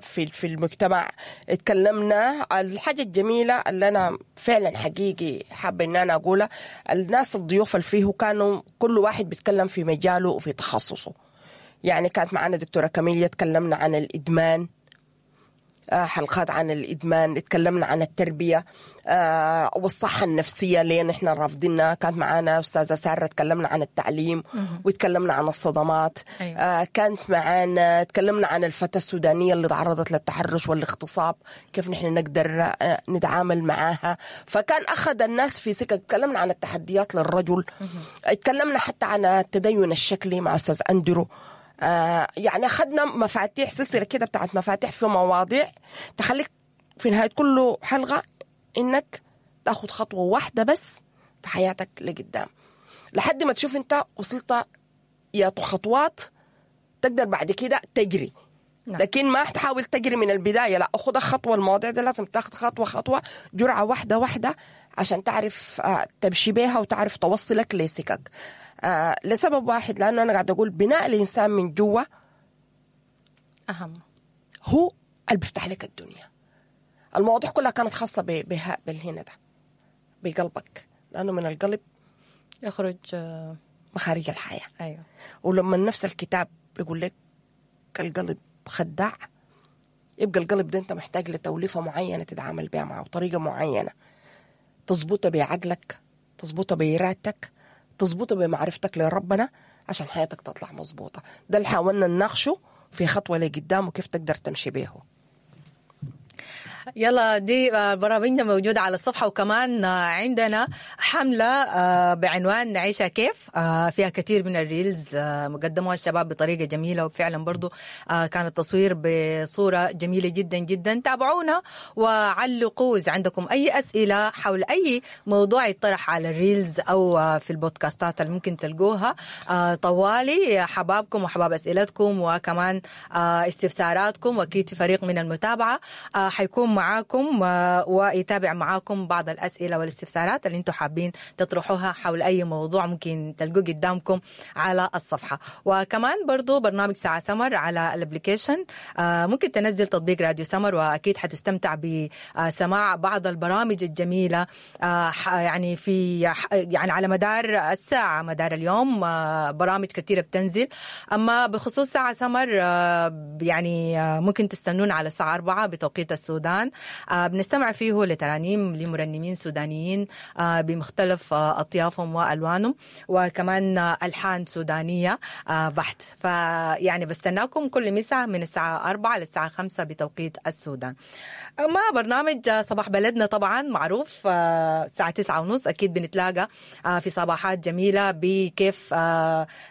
في المجتمع. اتكلمنا الحاجة الجميلة اللي أنا فعلا حقيقي حابة إن أنا أقولها، الناس الضيوف اللي فيه كانوا كل واحد بيتكلم في مجاله وفي تخصصه. يعني كانت معنا دكتورة كاميليا، تكلمنا عن الإدمان، حلقات عن الإدمان، اتكلمنا عن التربية والصحة النفسية ليه نحن رافضينها. كانت معانا أستاذة سارة، تكلمنا عن التعليم وتكلمنا عن الصدمات. أيوة. كانت معانا تكلمنا عن الفتاة السودانية اللي تعرضت للتحرش والاغتصاب، كيف نحن نقدر نتعامل معاها. فكان أخذ الناس في سكة. تكلمنا عن التحديات للرجل، اتكلمنا حتى عن التدين الشكلي مع أستاذ أندرو. يعني أخذنا مفاتيح، سلسلة كده بتاعت مفاتيح في مواضيع تخليك في نهاية كل حلقة إنك تأخذ خطوة واحدة بس في حياتك لقدام، لحد ما تشوف أنت وصلت يا خطوات تقدر بعد كده تجري. نعم. لكن ما تحاول تجري من البداية، لا، أخذ خطوة. المواضيع دي لازم تاخذ خطوة خطوة، جرعة واحدة واحدة، عشان تعرف تمشي بيها وتعرف توصلك لسكك. لسبب واحد، لأنه أنا قاعد أقول بناء الإنسان من جوا أهم، هو اللي بيفتح لك الدنيا. المواضيع كلها كانت خاصة بها بالهنا ده، بقلبك، لأنه من القلب يخرج مخارج الحياة. أيوة. ولما نفس الكتاب بيقول لك القلب خداع، يبقى القلب ده أنت محتاج لتوليفة معينة تتعامل بها معه، وطريقة معينة تظبطها بعقلك، تظبطها بإرادتك، تظبطه بمعرفتك لربنا، عشان حياتك تطلع مظبوطة. ده اللي حاولنا نناقشه في خطوة لقدام وكيف تقدر تمشي بيه. يلا، دي برامجنا موجودة على الصفحة، وكمان عندنا حملة بعنوان نعيشها كيف، فيها كثير من ال reels مقدموها الشباب بطريقة جميلة، وفعلا برضو كان التصوير بصورة جميلة جدا جدا. تابعونا وعلقوا إذا عندكم أي أسئلة حول أي موضوع يطرح على ال reels أو في البودكاستات اللي ممكن تلقوها طوالي. حبابكم وحباب أسئلتكم، وكمان استفساراتكم، وأكيد في فريق من المتابعة حيكون معاكم ويتابع معاكم بعض الأسئلة والاستفسارات اللي انتم حابين تطرحوها حول أي موضوع ممكن تلقوه قدامكم على الصفحة. وكمان برضو برنامج ساعة سمر على ال application، ممكن تنزل تطبيق راديو سمر، وأكيد حتستمتع بسماع بعض البرامج الجميلة، يعني في يعني على مدار الساعة، مدار اليوم، برامج كثيرة بتنزل. أما بخصوص ساعة سمر، يعني ممكن تستنون على الساعة 4 بتوقيت السودان، بنستمع فيه لترانيم لمرنمين سودانيين بمختلف أطيافهم وألوانهم، وكمان ألحان سودانية بحت. فيعني بستناكم كل مساء من الساعة 4 للساعة 5 بتوقيت السودان. أما برنامج صباح بلدنا طبعا معروف، الساعة 9:30 أكيد بنتلاقى في صباحات جميلة بكيف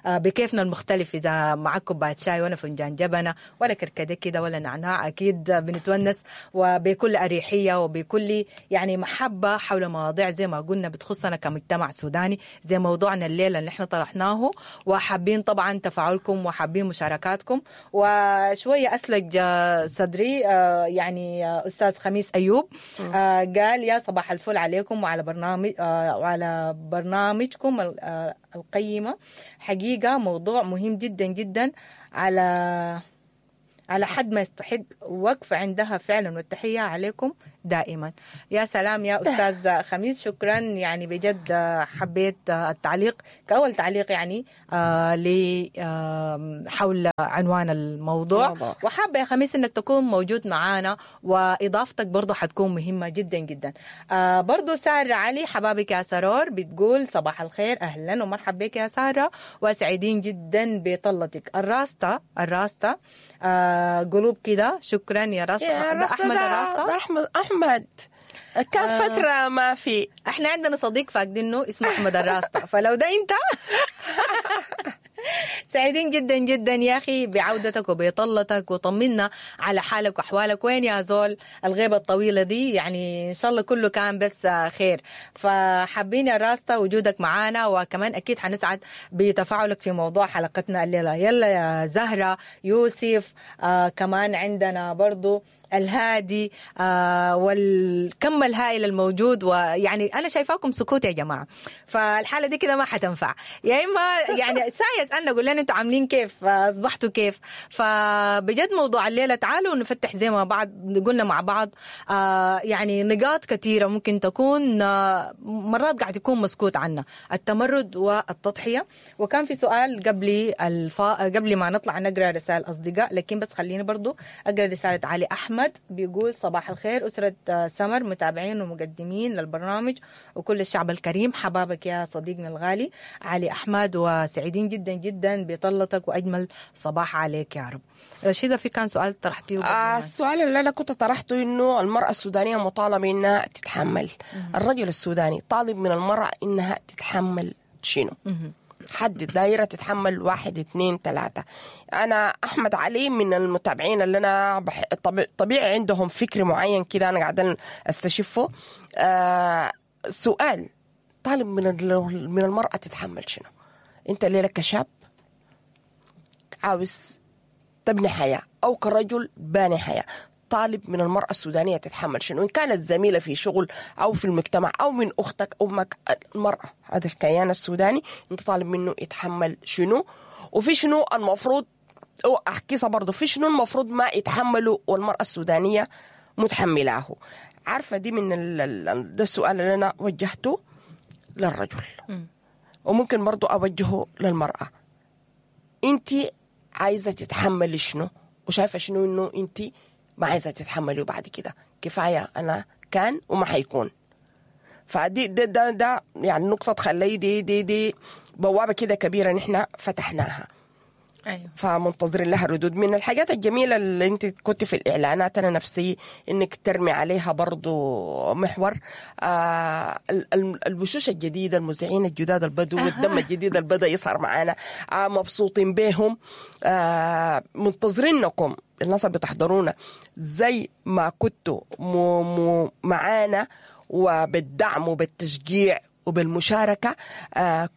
بكيفنا المختلف. إذا معك كوباية شاي ولا فنجان جبنة ولا كركديه كده ولا نعناع، أكيد بنتونس وبن بكل أريحية وبكل يعني محبة حول مواضيع زي ما قلنا بتخصنا كمجتمع سوداني، زي موضوعنا الليلة اللي احنا طرحناه، وحابين طبعا تفاعلكم وحابين مشاركاتكم. وشوية أسلج صدري يعني أستاذ خميس أيوب قال يا صباح الفل عليكم وعلى برنامج وعلى برنامجكم القيمة. حقيقة موضوع مهم جدا جدا على حد ما يستحق وقف عندها فعلا، والتحية عليكم دائما. يا سلام يا أستاذ خميس، شكرا. يعني بجد حبيت التعليق كأول تعليق يعني حول عنوان الموضوع. وحابة يا خميس أنك تكون موجود معانا وإضافتك برضو حتكون مهمة جدا جدا. برضو سارة علي حبابك يا سرور بتقول صباح الخير، أهلا ومرحبا بك يا سارة وسعيدين جدا بطلتك. الراستا قلوب كده، شكرا يا راستا. ده أحمد الراستا، أحمد كان فترة ما في، احنا عندنا صديق فاقدينه اسمه أحمد الراستا، فلو ده انت سعيدين جدا جدا يا أخي بعودتك وبطلتك، وطمنا على حالك وأحوالك. وين يا زول الغيبة الطويلة دي؟ يعني إن شاء الله كله كان بس خير. فحابين يا راستا وجودك معانا، وكمان أكيد حنسعد بتفاعلك في موضوع حلقتنا الليلة. يلا يا زهرة يوسف، كمان عندنا برضو الهادي والكم الهائل الموجود، ويعني أنا شايفاكم سكوت يا جماعة، فالحالة دي كده ما حتنفع. يا إما يعني سايس أسألنا قول لنا أنتوا عاملين كيف، أصبحتوا كيف. فبجد موضوع الليلة تعالوا نفتح زي ما بعض قلنا مع بعض يعني نقاط كثيرة ممكن تكون مرات قاعد يكون مسكوت عنا، التمرد والتضحية. وكان في سؤال قبل ما نطلع نقرأ رسائل أصدقاء، لكن بس خليني برضو أقرأ رسالة علي أحمد بيقول صباح الخير أسرة سمر، متابعين ومقدمين للبرنامج وكل الشعب الكريم. حبابك يا صديقنا الغالي علي أحمد، وسعيدين جدا جدا بطلتك وأجمل صباح عليك يا رب. رشيدة، في كان سؤال طرحتيه؟ السؤال اللي أنا كنت طرحته إنه المرأة السودانية مطالبة إنها تتحمل. الرجل السوداني طالب من المرأة إنها تتحمل شنو؟ حدد دايرة تتحمل 1 2 3. أنا أحمد علي من المتابعين اللي أنا طبيعي عندهم فكر معين كده أنا قاعدة أستشفه. سؤال طالب من المرأة تتحمل شنو؟ أنت الليلة كشاب عاوز تبني حياة أو كرجل باني حياة، طالب من المرأة السودانية تتحمل شنو؟ إن كانت زميلة في شغل أو في المجتمع أو من أختك أمك، المرأة هذا الكيان السوداني أنت طالب منه يتحمل شنو؟ وفي شنو المفروض، أو أحكيها برضو، في شنو المفروض ما يتحمله والمرأة السودانية متحملاه؟ عارفة دي من ده السؤال اللي أنا وجهته للرجل، وممكن برضو أوجهه للمرأة. أنت عايزة تتحملي شنو؟ وشايفة شنو إنه أنت ما عايزة تتحملي بعد كده؟ كفاية أنا كان وما حيكون. فدي ده ده ده يعني نقطة تخلي دي دي دي بوابة كده كبيرة نحن فتحناها. أيوة. فمنتظرين لها ردود. من الحاجات الجميلة اللي انت كنت في الإعلانات أنا نفسي انك ترمي عليها برضو محور الوشوش الجديدة، المذيعين الجداد البدو والدم الجديد البدأ يظهر معانا، مبسوطين بهم، منتظرينكم الناس اللي بتحضرونا زي ما كنتوا معانا وبالدعم وبالتشجيع وبالمشاركة.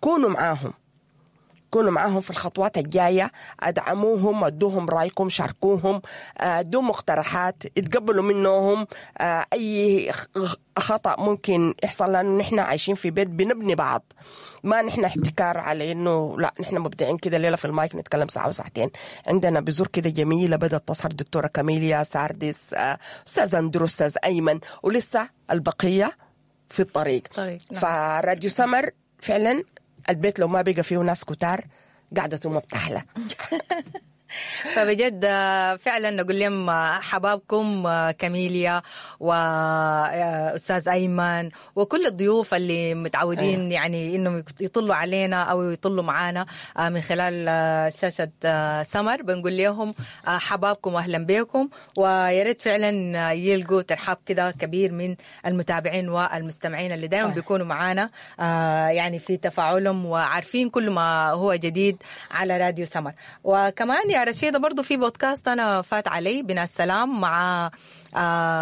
كونوا معاهم، كونوا معاهم في الخطوات الجاية، أدعموهم، أدوهم رأيكم، شاركوهم، أدوهم مقترحات، اتقبلوا منهم أي خطأ ممكن يحصل، لأنه نحن عايشين في بيت بنبني بعض، ما نحن احتكار على إنه لا نحن مبدعين كده ليلة في المايك نتكلم ساعة وساعتين. عندنا بذور كده جميلة بدأت تظهر، دكتورة كاميليا ساردس، أستاذ أندرو، أستاذ أيمن، ولسه البقية في الطريق. نعم. فراديو سمر فعلا البيت لو ما بقى فيه ناس كتار قعدته ما بتحلى. فبجد فعلا نقول لهم حبابكم كاميليا وأستاذ أيمن وكل الضيوف اللي متعودين. أيوة. يعني إنهم يطلوا علينا أو يطلوا معانا من خلال شاشة سمر، بنقول لهم حبابكم وأهلا بكم، وياريت فعلا يلقوا ترحاب كده كبير من المتابعين والمستمعين اللي دائما بيكونوا معانا يعني في تفاعلهم وعارفين كل ما هو جديد على راديو سمر. وكمان يا يا رشيدة برضو في بودكاست أنا فات علي بنا السلام مع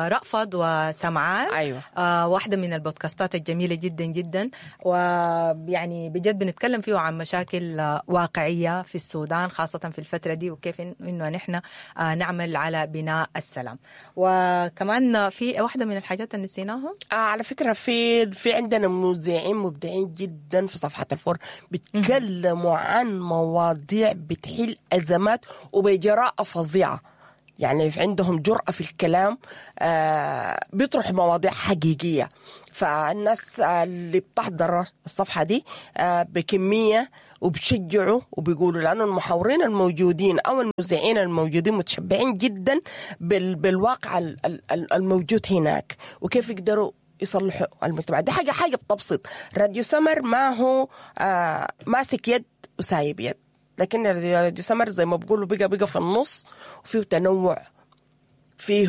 رأفت وسمعان. أيوة. واحدة من البودكاستات الجميلة جدا جدا، ويعني بجد بنتكلم فيه عن مشاكل واقعية في السودان خاصة في الفترة دي، وكيف إنه نحن نعمل على بناء السلام. وكمان في واحدة من الحاجات اللي نسيناها على فكرة في عندنا مذيعين مبدعين جدا في صفحة الفور، بيتكلموا عن مواضيع بتحل أزمات وبجراءة فظيعة. يعني في عندهم جرأة في الكلام، بيطرحوا مواضيع حقيقية. فالناس اللي بتحضر الصفحة دي بكمية وبشجعوا وبيقولوا، لأنه المحاورين الموجودين أو المذيعين الموجودين متشبعين جدا بالواقع الموجود هناك، وكيف يقدروا يصلحوا المجتمع. دي حاجة بتبسط. راديو سمر ما هو ماسك يد وسايب يد، لكن راديو سمر زي ما بقولوا بقى في النص، وفيه تنوع، فيه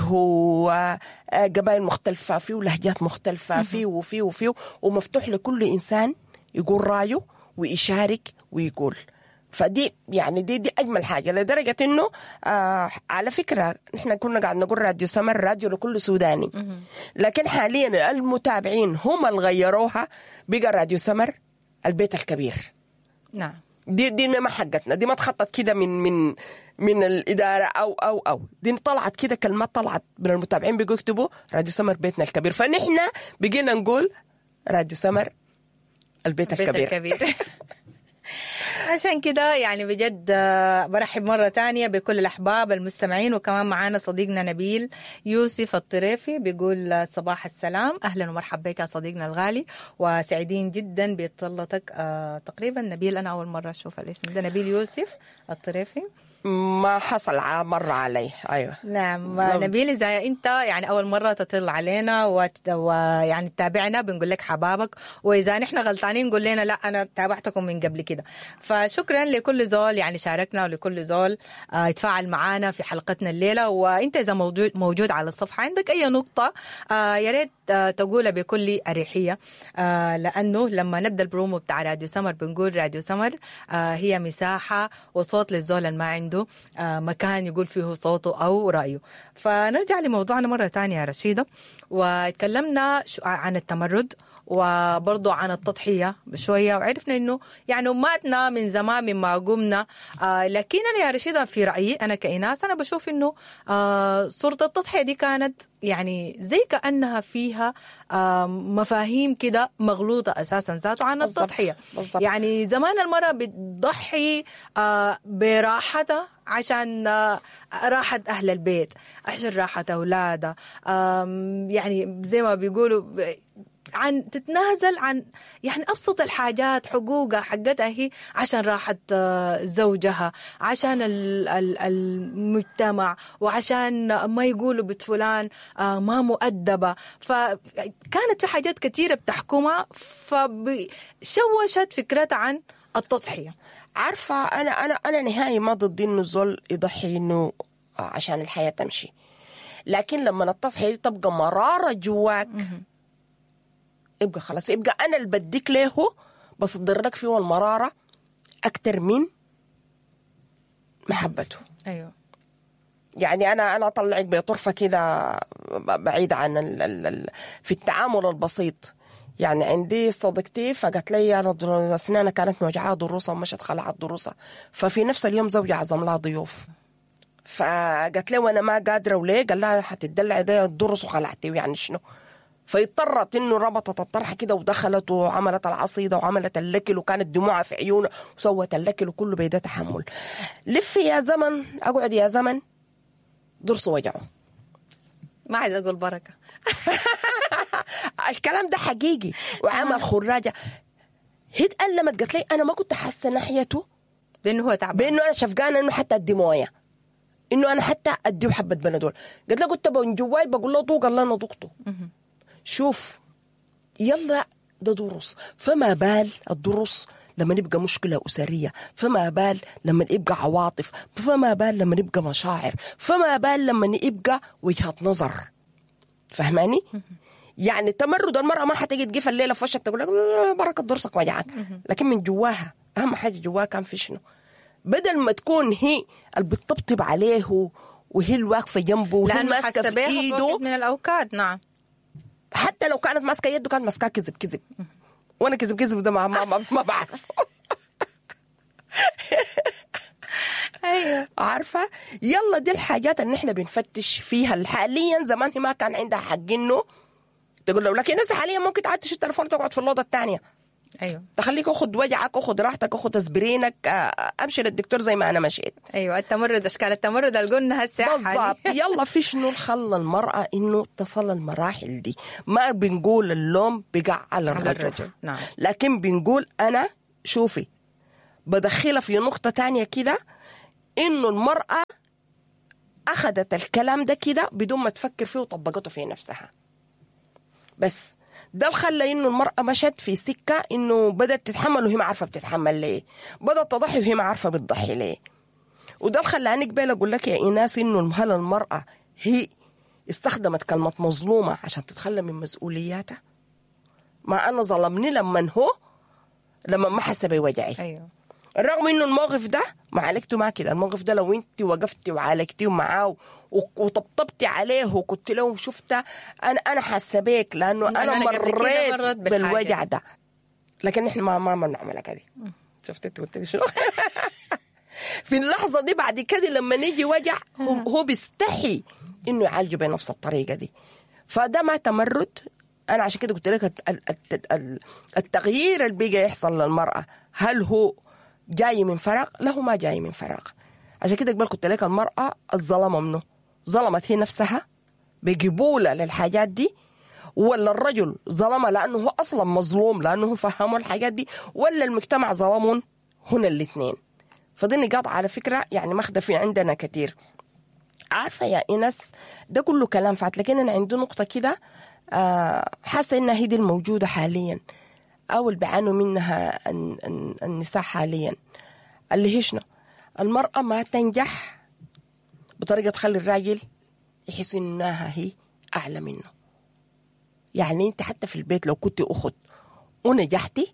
قبائل مختلفة، فيه لهجات مختلفة، فيه وفيه وفيه، ومفتوح لكل إنسان يقول رأيه ويشارك ويقول. فدي يعني دي أجمل حاجة، لدرجة إنه على فكرة نحن كنا قاعد نقول راديو سمر راديو لكل سوداني، لكن حاليا المتابعين هم اللي غيروها، بقى راديو سمر البيت الكبير. نعم، دي ما حقتنا، دي ما تخطط كده من من الإدارة أو دي طلعت كده كلمات طلعت من المتابعين، بيقوا يكتبوا راديو سمر بيتنا الكبير، فنحن بقينا نقول راديو سمر البيت الكبير. عشان كده يعني بجد برحب مرة تانية بكل الأحباب المستمعين، وكمان معانا صديقنا نبيل يوسف الطريفي بيقول صباح السلام. أهلا ومرحبا بك يا صديقنا الغالي، وسعيدين جدا بطلتك. تقريبا نبيل أنا أول مرة أشوف الاسم ده، نبيل يوسف الطريفي، ما حصل مرة علي. أيوة نعم نبيل، إذا أنت يعني أول مرة تطل علينا ويعني تتابعنا بنقول لك حبابك، وإذا نحن غلطانين نقول لنا لا أنا تابعتكم من قبل كده. فشكرا لكل زول يعني شاركنا، ولكل زول يتفاعل معنا في حلقتنا الليلة. وأنت إذا موجود على الصفحة عندك أي نقطة يا ريت تقولها بكل أريحية، لأنه لما نبدأ البرومو بتاع راديو سمر بنقول راديو سمر هي مساحة وصوت للزول اللي ما عنده مكان يقول فيه صوته أو رأيه. فنرجع لموضوعنا مرة تانية يا رشيدة، وتكلمنا عن التمرد وبرضو عن التضحية بشوية، وعرفنا إنه يعني أماتنا من زمان مما قمنا. لكن أنا يا رشيدة في رأيي أنا كإناس، أنا بشوف إنه صورة التضحية دي كانت يعني زي كأنها فيها مفاهيم كده مغلوطة أساسا ذاته عن التضحية. بالضبط. يعني زمان المرأة بتضحي براحتها عشان راحة أهل البيت، عشان راحة أولادها، يعني زي ما بيقولوا عن تتنازل عن يعني أبسط الحاجات، حقوقها حقتها هي، عشان راحة زوجها، عشان المجتمع، وعشان ما يقولوا بنت فلان ما مؤدبة. فكانت في حاجات كثيرة بتحكمها، فشوشت فكرتها عن التضحية. عارفة أنا أنا أنا نهائي ما ضد إنه الزول يضحي إنه عشان الحياة تمشي، لكن لما التضحية تبقى مرارة جواك يبقى خلاص، يبقى أنا اللي بديك له بصدر لك فيه المرارة أكتر من محبته. أيوة. يعني أنا أطلعك بطرفة كده بعيد عن في التعامل البسيط. يعني عندي صديقتي فقالت لي أنا أسنانها كانت موجعة ضروسها ومشت خلعت ضروسها، ففي نفس اليوم زوجي عزم لها ضيوف، فقالت لي وأنا ما قادرة وليه؟ قال لها حتدلعي ده الضرس وخلعتي يعني شنو؟ فاضطرت انه ربطت الطرحة كده ودخلت وعملت العصيده وعملت الاكل، وكانت دموعها في عيونها وسوت الاكل وكله بيده تحمل. لف يا زمن، اقعد يا زمن، ضرس وجعه. ما عايز اقول بركة. الكلام ده حقيقي. وعمل خراجه، هي اتألمت، قالت لي انا ما كنت حاسه ناحيته بانه هو تعبان، بانه انا شفقانه انه حتى ادي مويه، انه انا حتى اديه حبه بنادول. قالت لي كنت من جواي بقول له ذوق، الله انا ذقته. شوف يلا ده دروس، فما بال الدروس لما نبقى مشكلة أسرية، فما بال لما نبقى عواطف، فما بال لما نبقى مشاعر، فما بال لما نبقى وجهة نظر. فهماني؟ يعني تمرد المرأة ما حتجي تقف الليلة في وشك تقول لك بركة ضرسك وجعك، لكن من جواها أهم حاجة جواها كان في شنو؟ بدل ما تكون هي اللي بتطبطب عليه وهي الواقفه جنبه وهي لانه ماسكه حاسه في بيها في ايده، وقت من الاوقات. نعم. حتى لو كانت ماسكه يده كانت ماسكاه كذب كذب، وانا كذب كذب ده ما بعرف. ايوه عارفه؟ يلا دي الحاجات اللي احنا بنفتش فيها حاليا. زمان هي ما كان عندها حق انه تقول له، لكن هسه حاليا ممكن تعدي التليفون وتقعد في الاوضة الثانية. ايوه تخليك اخذ وجعك، اخذ راحتك، اخذ اسبرينك، امشي للدكتور زي ما انا مشيت. ايوه التمرد، اشكال التمرد اللي قلنا هسه بالضبط. يلا في شنو خلى المرأة انه تصل المراحل دي؟ ما بنقول اللوم بقع على الرجل, الرجل، نعم. لكن بنقول انا شوفي بدخلها في نقطة تانية كده، انه المرأة اخذت الكلام ده كده بدون ما تفكر فيه وطبقته في نفسها. بس ده اللي خلى انه المرأة مشت في سكة انه بدأت تتحمل وهي ما عارفة بتتحمل ليه، بدأت تضحي وهي ما عارفة بتضحي ليه. وده اللي خلاني قبل اقول لك يا ايناس انه هل المرأة هي استخدمت كلمة مظلومة عشان تتخلى من مسؤولياتها؟ ما انا ظلمني لما هو لما ما حس بوجعي. ايوه رغم انه الموقف ده معالجته ما كده، الموقف ده لو انت وقفتي وعالجتيه معاه وطبطبتي عليه وقلت له شفت انا حاسه بيك لانه انا أنا قبل كده مريت مرت بالحاجة بالوجع دي. ده، لكن احنا ما بنعملها كده. شفت انت قلت لي شنو؟ في اللحظة دي بعد كده لما نيجي وجع هو بيستحي انه يعالجه بنفس الطريقة دي، فده ما تمرد. انا عشان كده قلت لك التغيير اللي بيجي يحصل للمراة هل هو جاي من فراغ؟ لا هو ما جاي من فراغ. عشان كده قبل قلت لك المراة الظلمة منه ظلمت هي نفسها بقبولها للحاجات دي، ولا الرجل ظلمها لانه هو اصلا مظلوم لانه هو فهمه الحاجات دي، ولا المجتمع ظلمهم؟ هنا الاثنين. فدي نقاط على فكرة يعني ماخده في عندنا كثير. عارفه يا ايناس ده كله كلام فات، لكن انا عندي نقطة كده حاسه انها هي دي الموجودة حاليا او اللي بيعانوا منها النساء حاليا، اللي هي شنو؟ المراة ما تنجح بطريقة تخلي الراجل يحس انها هي اعلى منه. يعني انت حتى في البيت لو كنت اخت ونجحتي،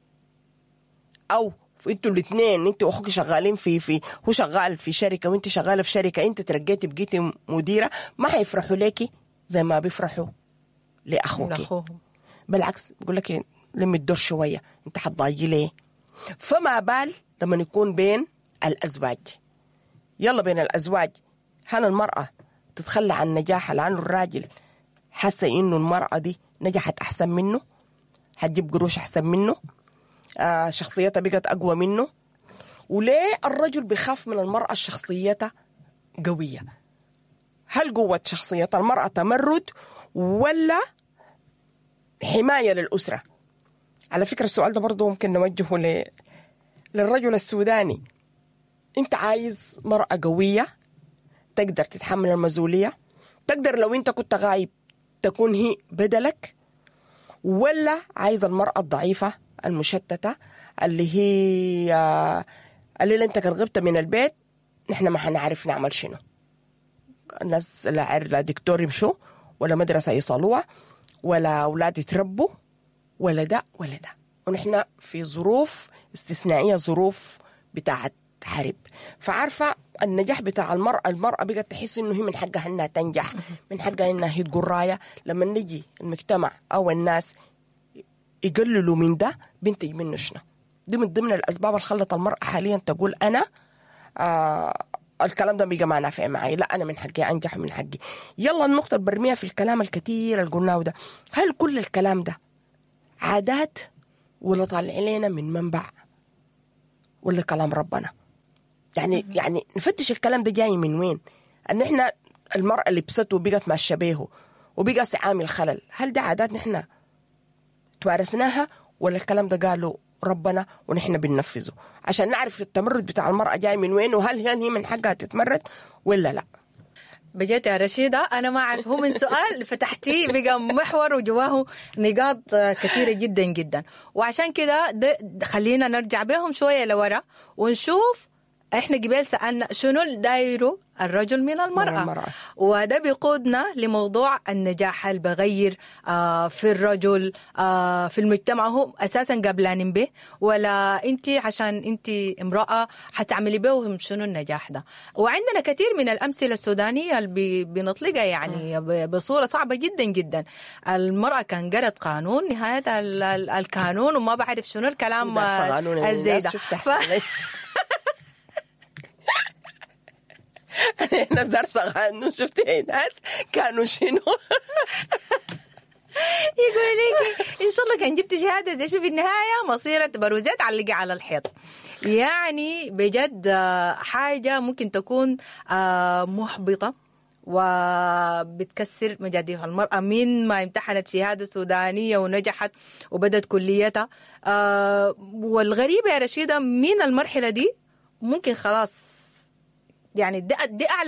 او انتوا الاثنين انت واخوك شغالين في هو شغال في شركة وانت شغالة في شركة، انت ترقيتي بقيتي مديره، ما حيفرحوا ليكي زي ما بيفرحوا لاخوك. لاخوهم. بالعكس بقول لك لم الدور شوية، انت حتضايقي ليه؟ فما بال لما يكون بين الازواج. يلا بين الازواج هل المراة تتخلى عن نجاحها لانه الراجل حاسه انه المراة دي نجحت احسن منه، حتجيب قروش احسن منه، شخصيتها بقت اقوى منه؟ وليه الرجل بيخاف من المراة شخصيتها قوية؟ هل قوة شخصية المراة تمرد ولا حماية للاسرة؟ على فكرة السؤال ده برضه ممكن نوجهه للرجل السوداني. انت عايز مراة قوية تقدر تتحمل المسؤولية، تقدر لو انت كنت غايب تكون هي بدلك، ولا عايز المراة الضعيفة المشتته اللي هي اللي انت كان غبت من البيت نحن ما حنعرف نعمل شنو؟ الناس لا دكتور يمشوا ولا مدرسه يصلوها ولا اولاد يتربوا ولا ده ولا ده، ونحن في ظروف استثنائية، ظروف بتاعت حرب. فعارفه النجاح بتاع المراة، المراة بقت تحس انه هي من حقها انها تنجح، من حقها انها هي تقول رايه. لما نجي المجتمع او الناس يقللوا من ده بينتج منه شنو؟ دي من ضمن الاسباب اللي خلت المراة حاليا تقول انا الكلام ده بقى ما نافع معي، لا انا من حقي انجح ومن حقي. يلا النقطة اللي برميها في الكلام الكثير اللي قلناه ده، هل كل الكلام ده عادات ولا طالع لنا من منبع ولا كلام ربنا؟ يعني نفتش الكلام ده جاي من وين؟ ان احنا المراة لبسته وبقت ماشية بيه وبقى عامل خلل، هل ده عادات نحن توارثناها ولا الكلام ده قاله ربنا ونحن بننفذه؟ عشان نعرف التمرد بتاع المرأة جاي من وين، وهل هي من حقها تتمرد ولا لا. بجد يا رشيدة أنا ما أعرف، هو من سؤال فتحتيه بقى محور وجواه نقاط كثيرة جدا جدا، وعشان كده خلينا نرجع بهم شوية لورا ونشوف احنا قبل سالنا شنو الدايرو الرجل من المراة, من المرأة. وده بيقودنا لموضوع النجاح اللي بغير في الرجل في المجتمع، هو اساسا قبلانين به ولا انت عشان انت امراة حتعملي بهم شنو النجاح ده؟ وعندنا كثير من الامثلة السودانية اللي بنطلقها يعني بصورة صعبة جدا جدا. المراة كان قرت قانون، نهاية القانون وما بعرف شنو الكلام الزي ده. انا دارسه قانون، شفتي ناس كانوا شنو يقول لك ان شاء الله كان جبت شهادة زي شو في النهاية مصيره بروزات علقي على الحيط. يعني بجد حاجة ممكن تكون محبطة وبتكسر مجاديف المرأة من ما امتحنت شهادة سودانية ونجحت وبدت كليتها. والغريبة يا رشيدة من المرحلة دي ممكن خلاص يعني دي أعلى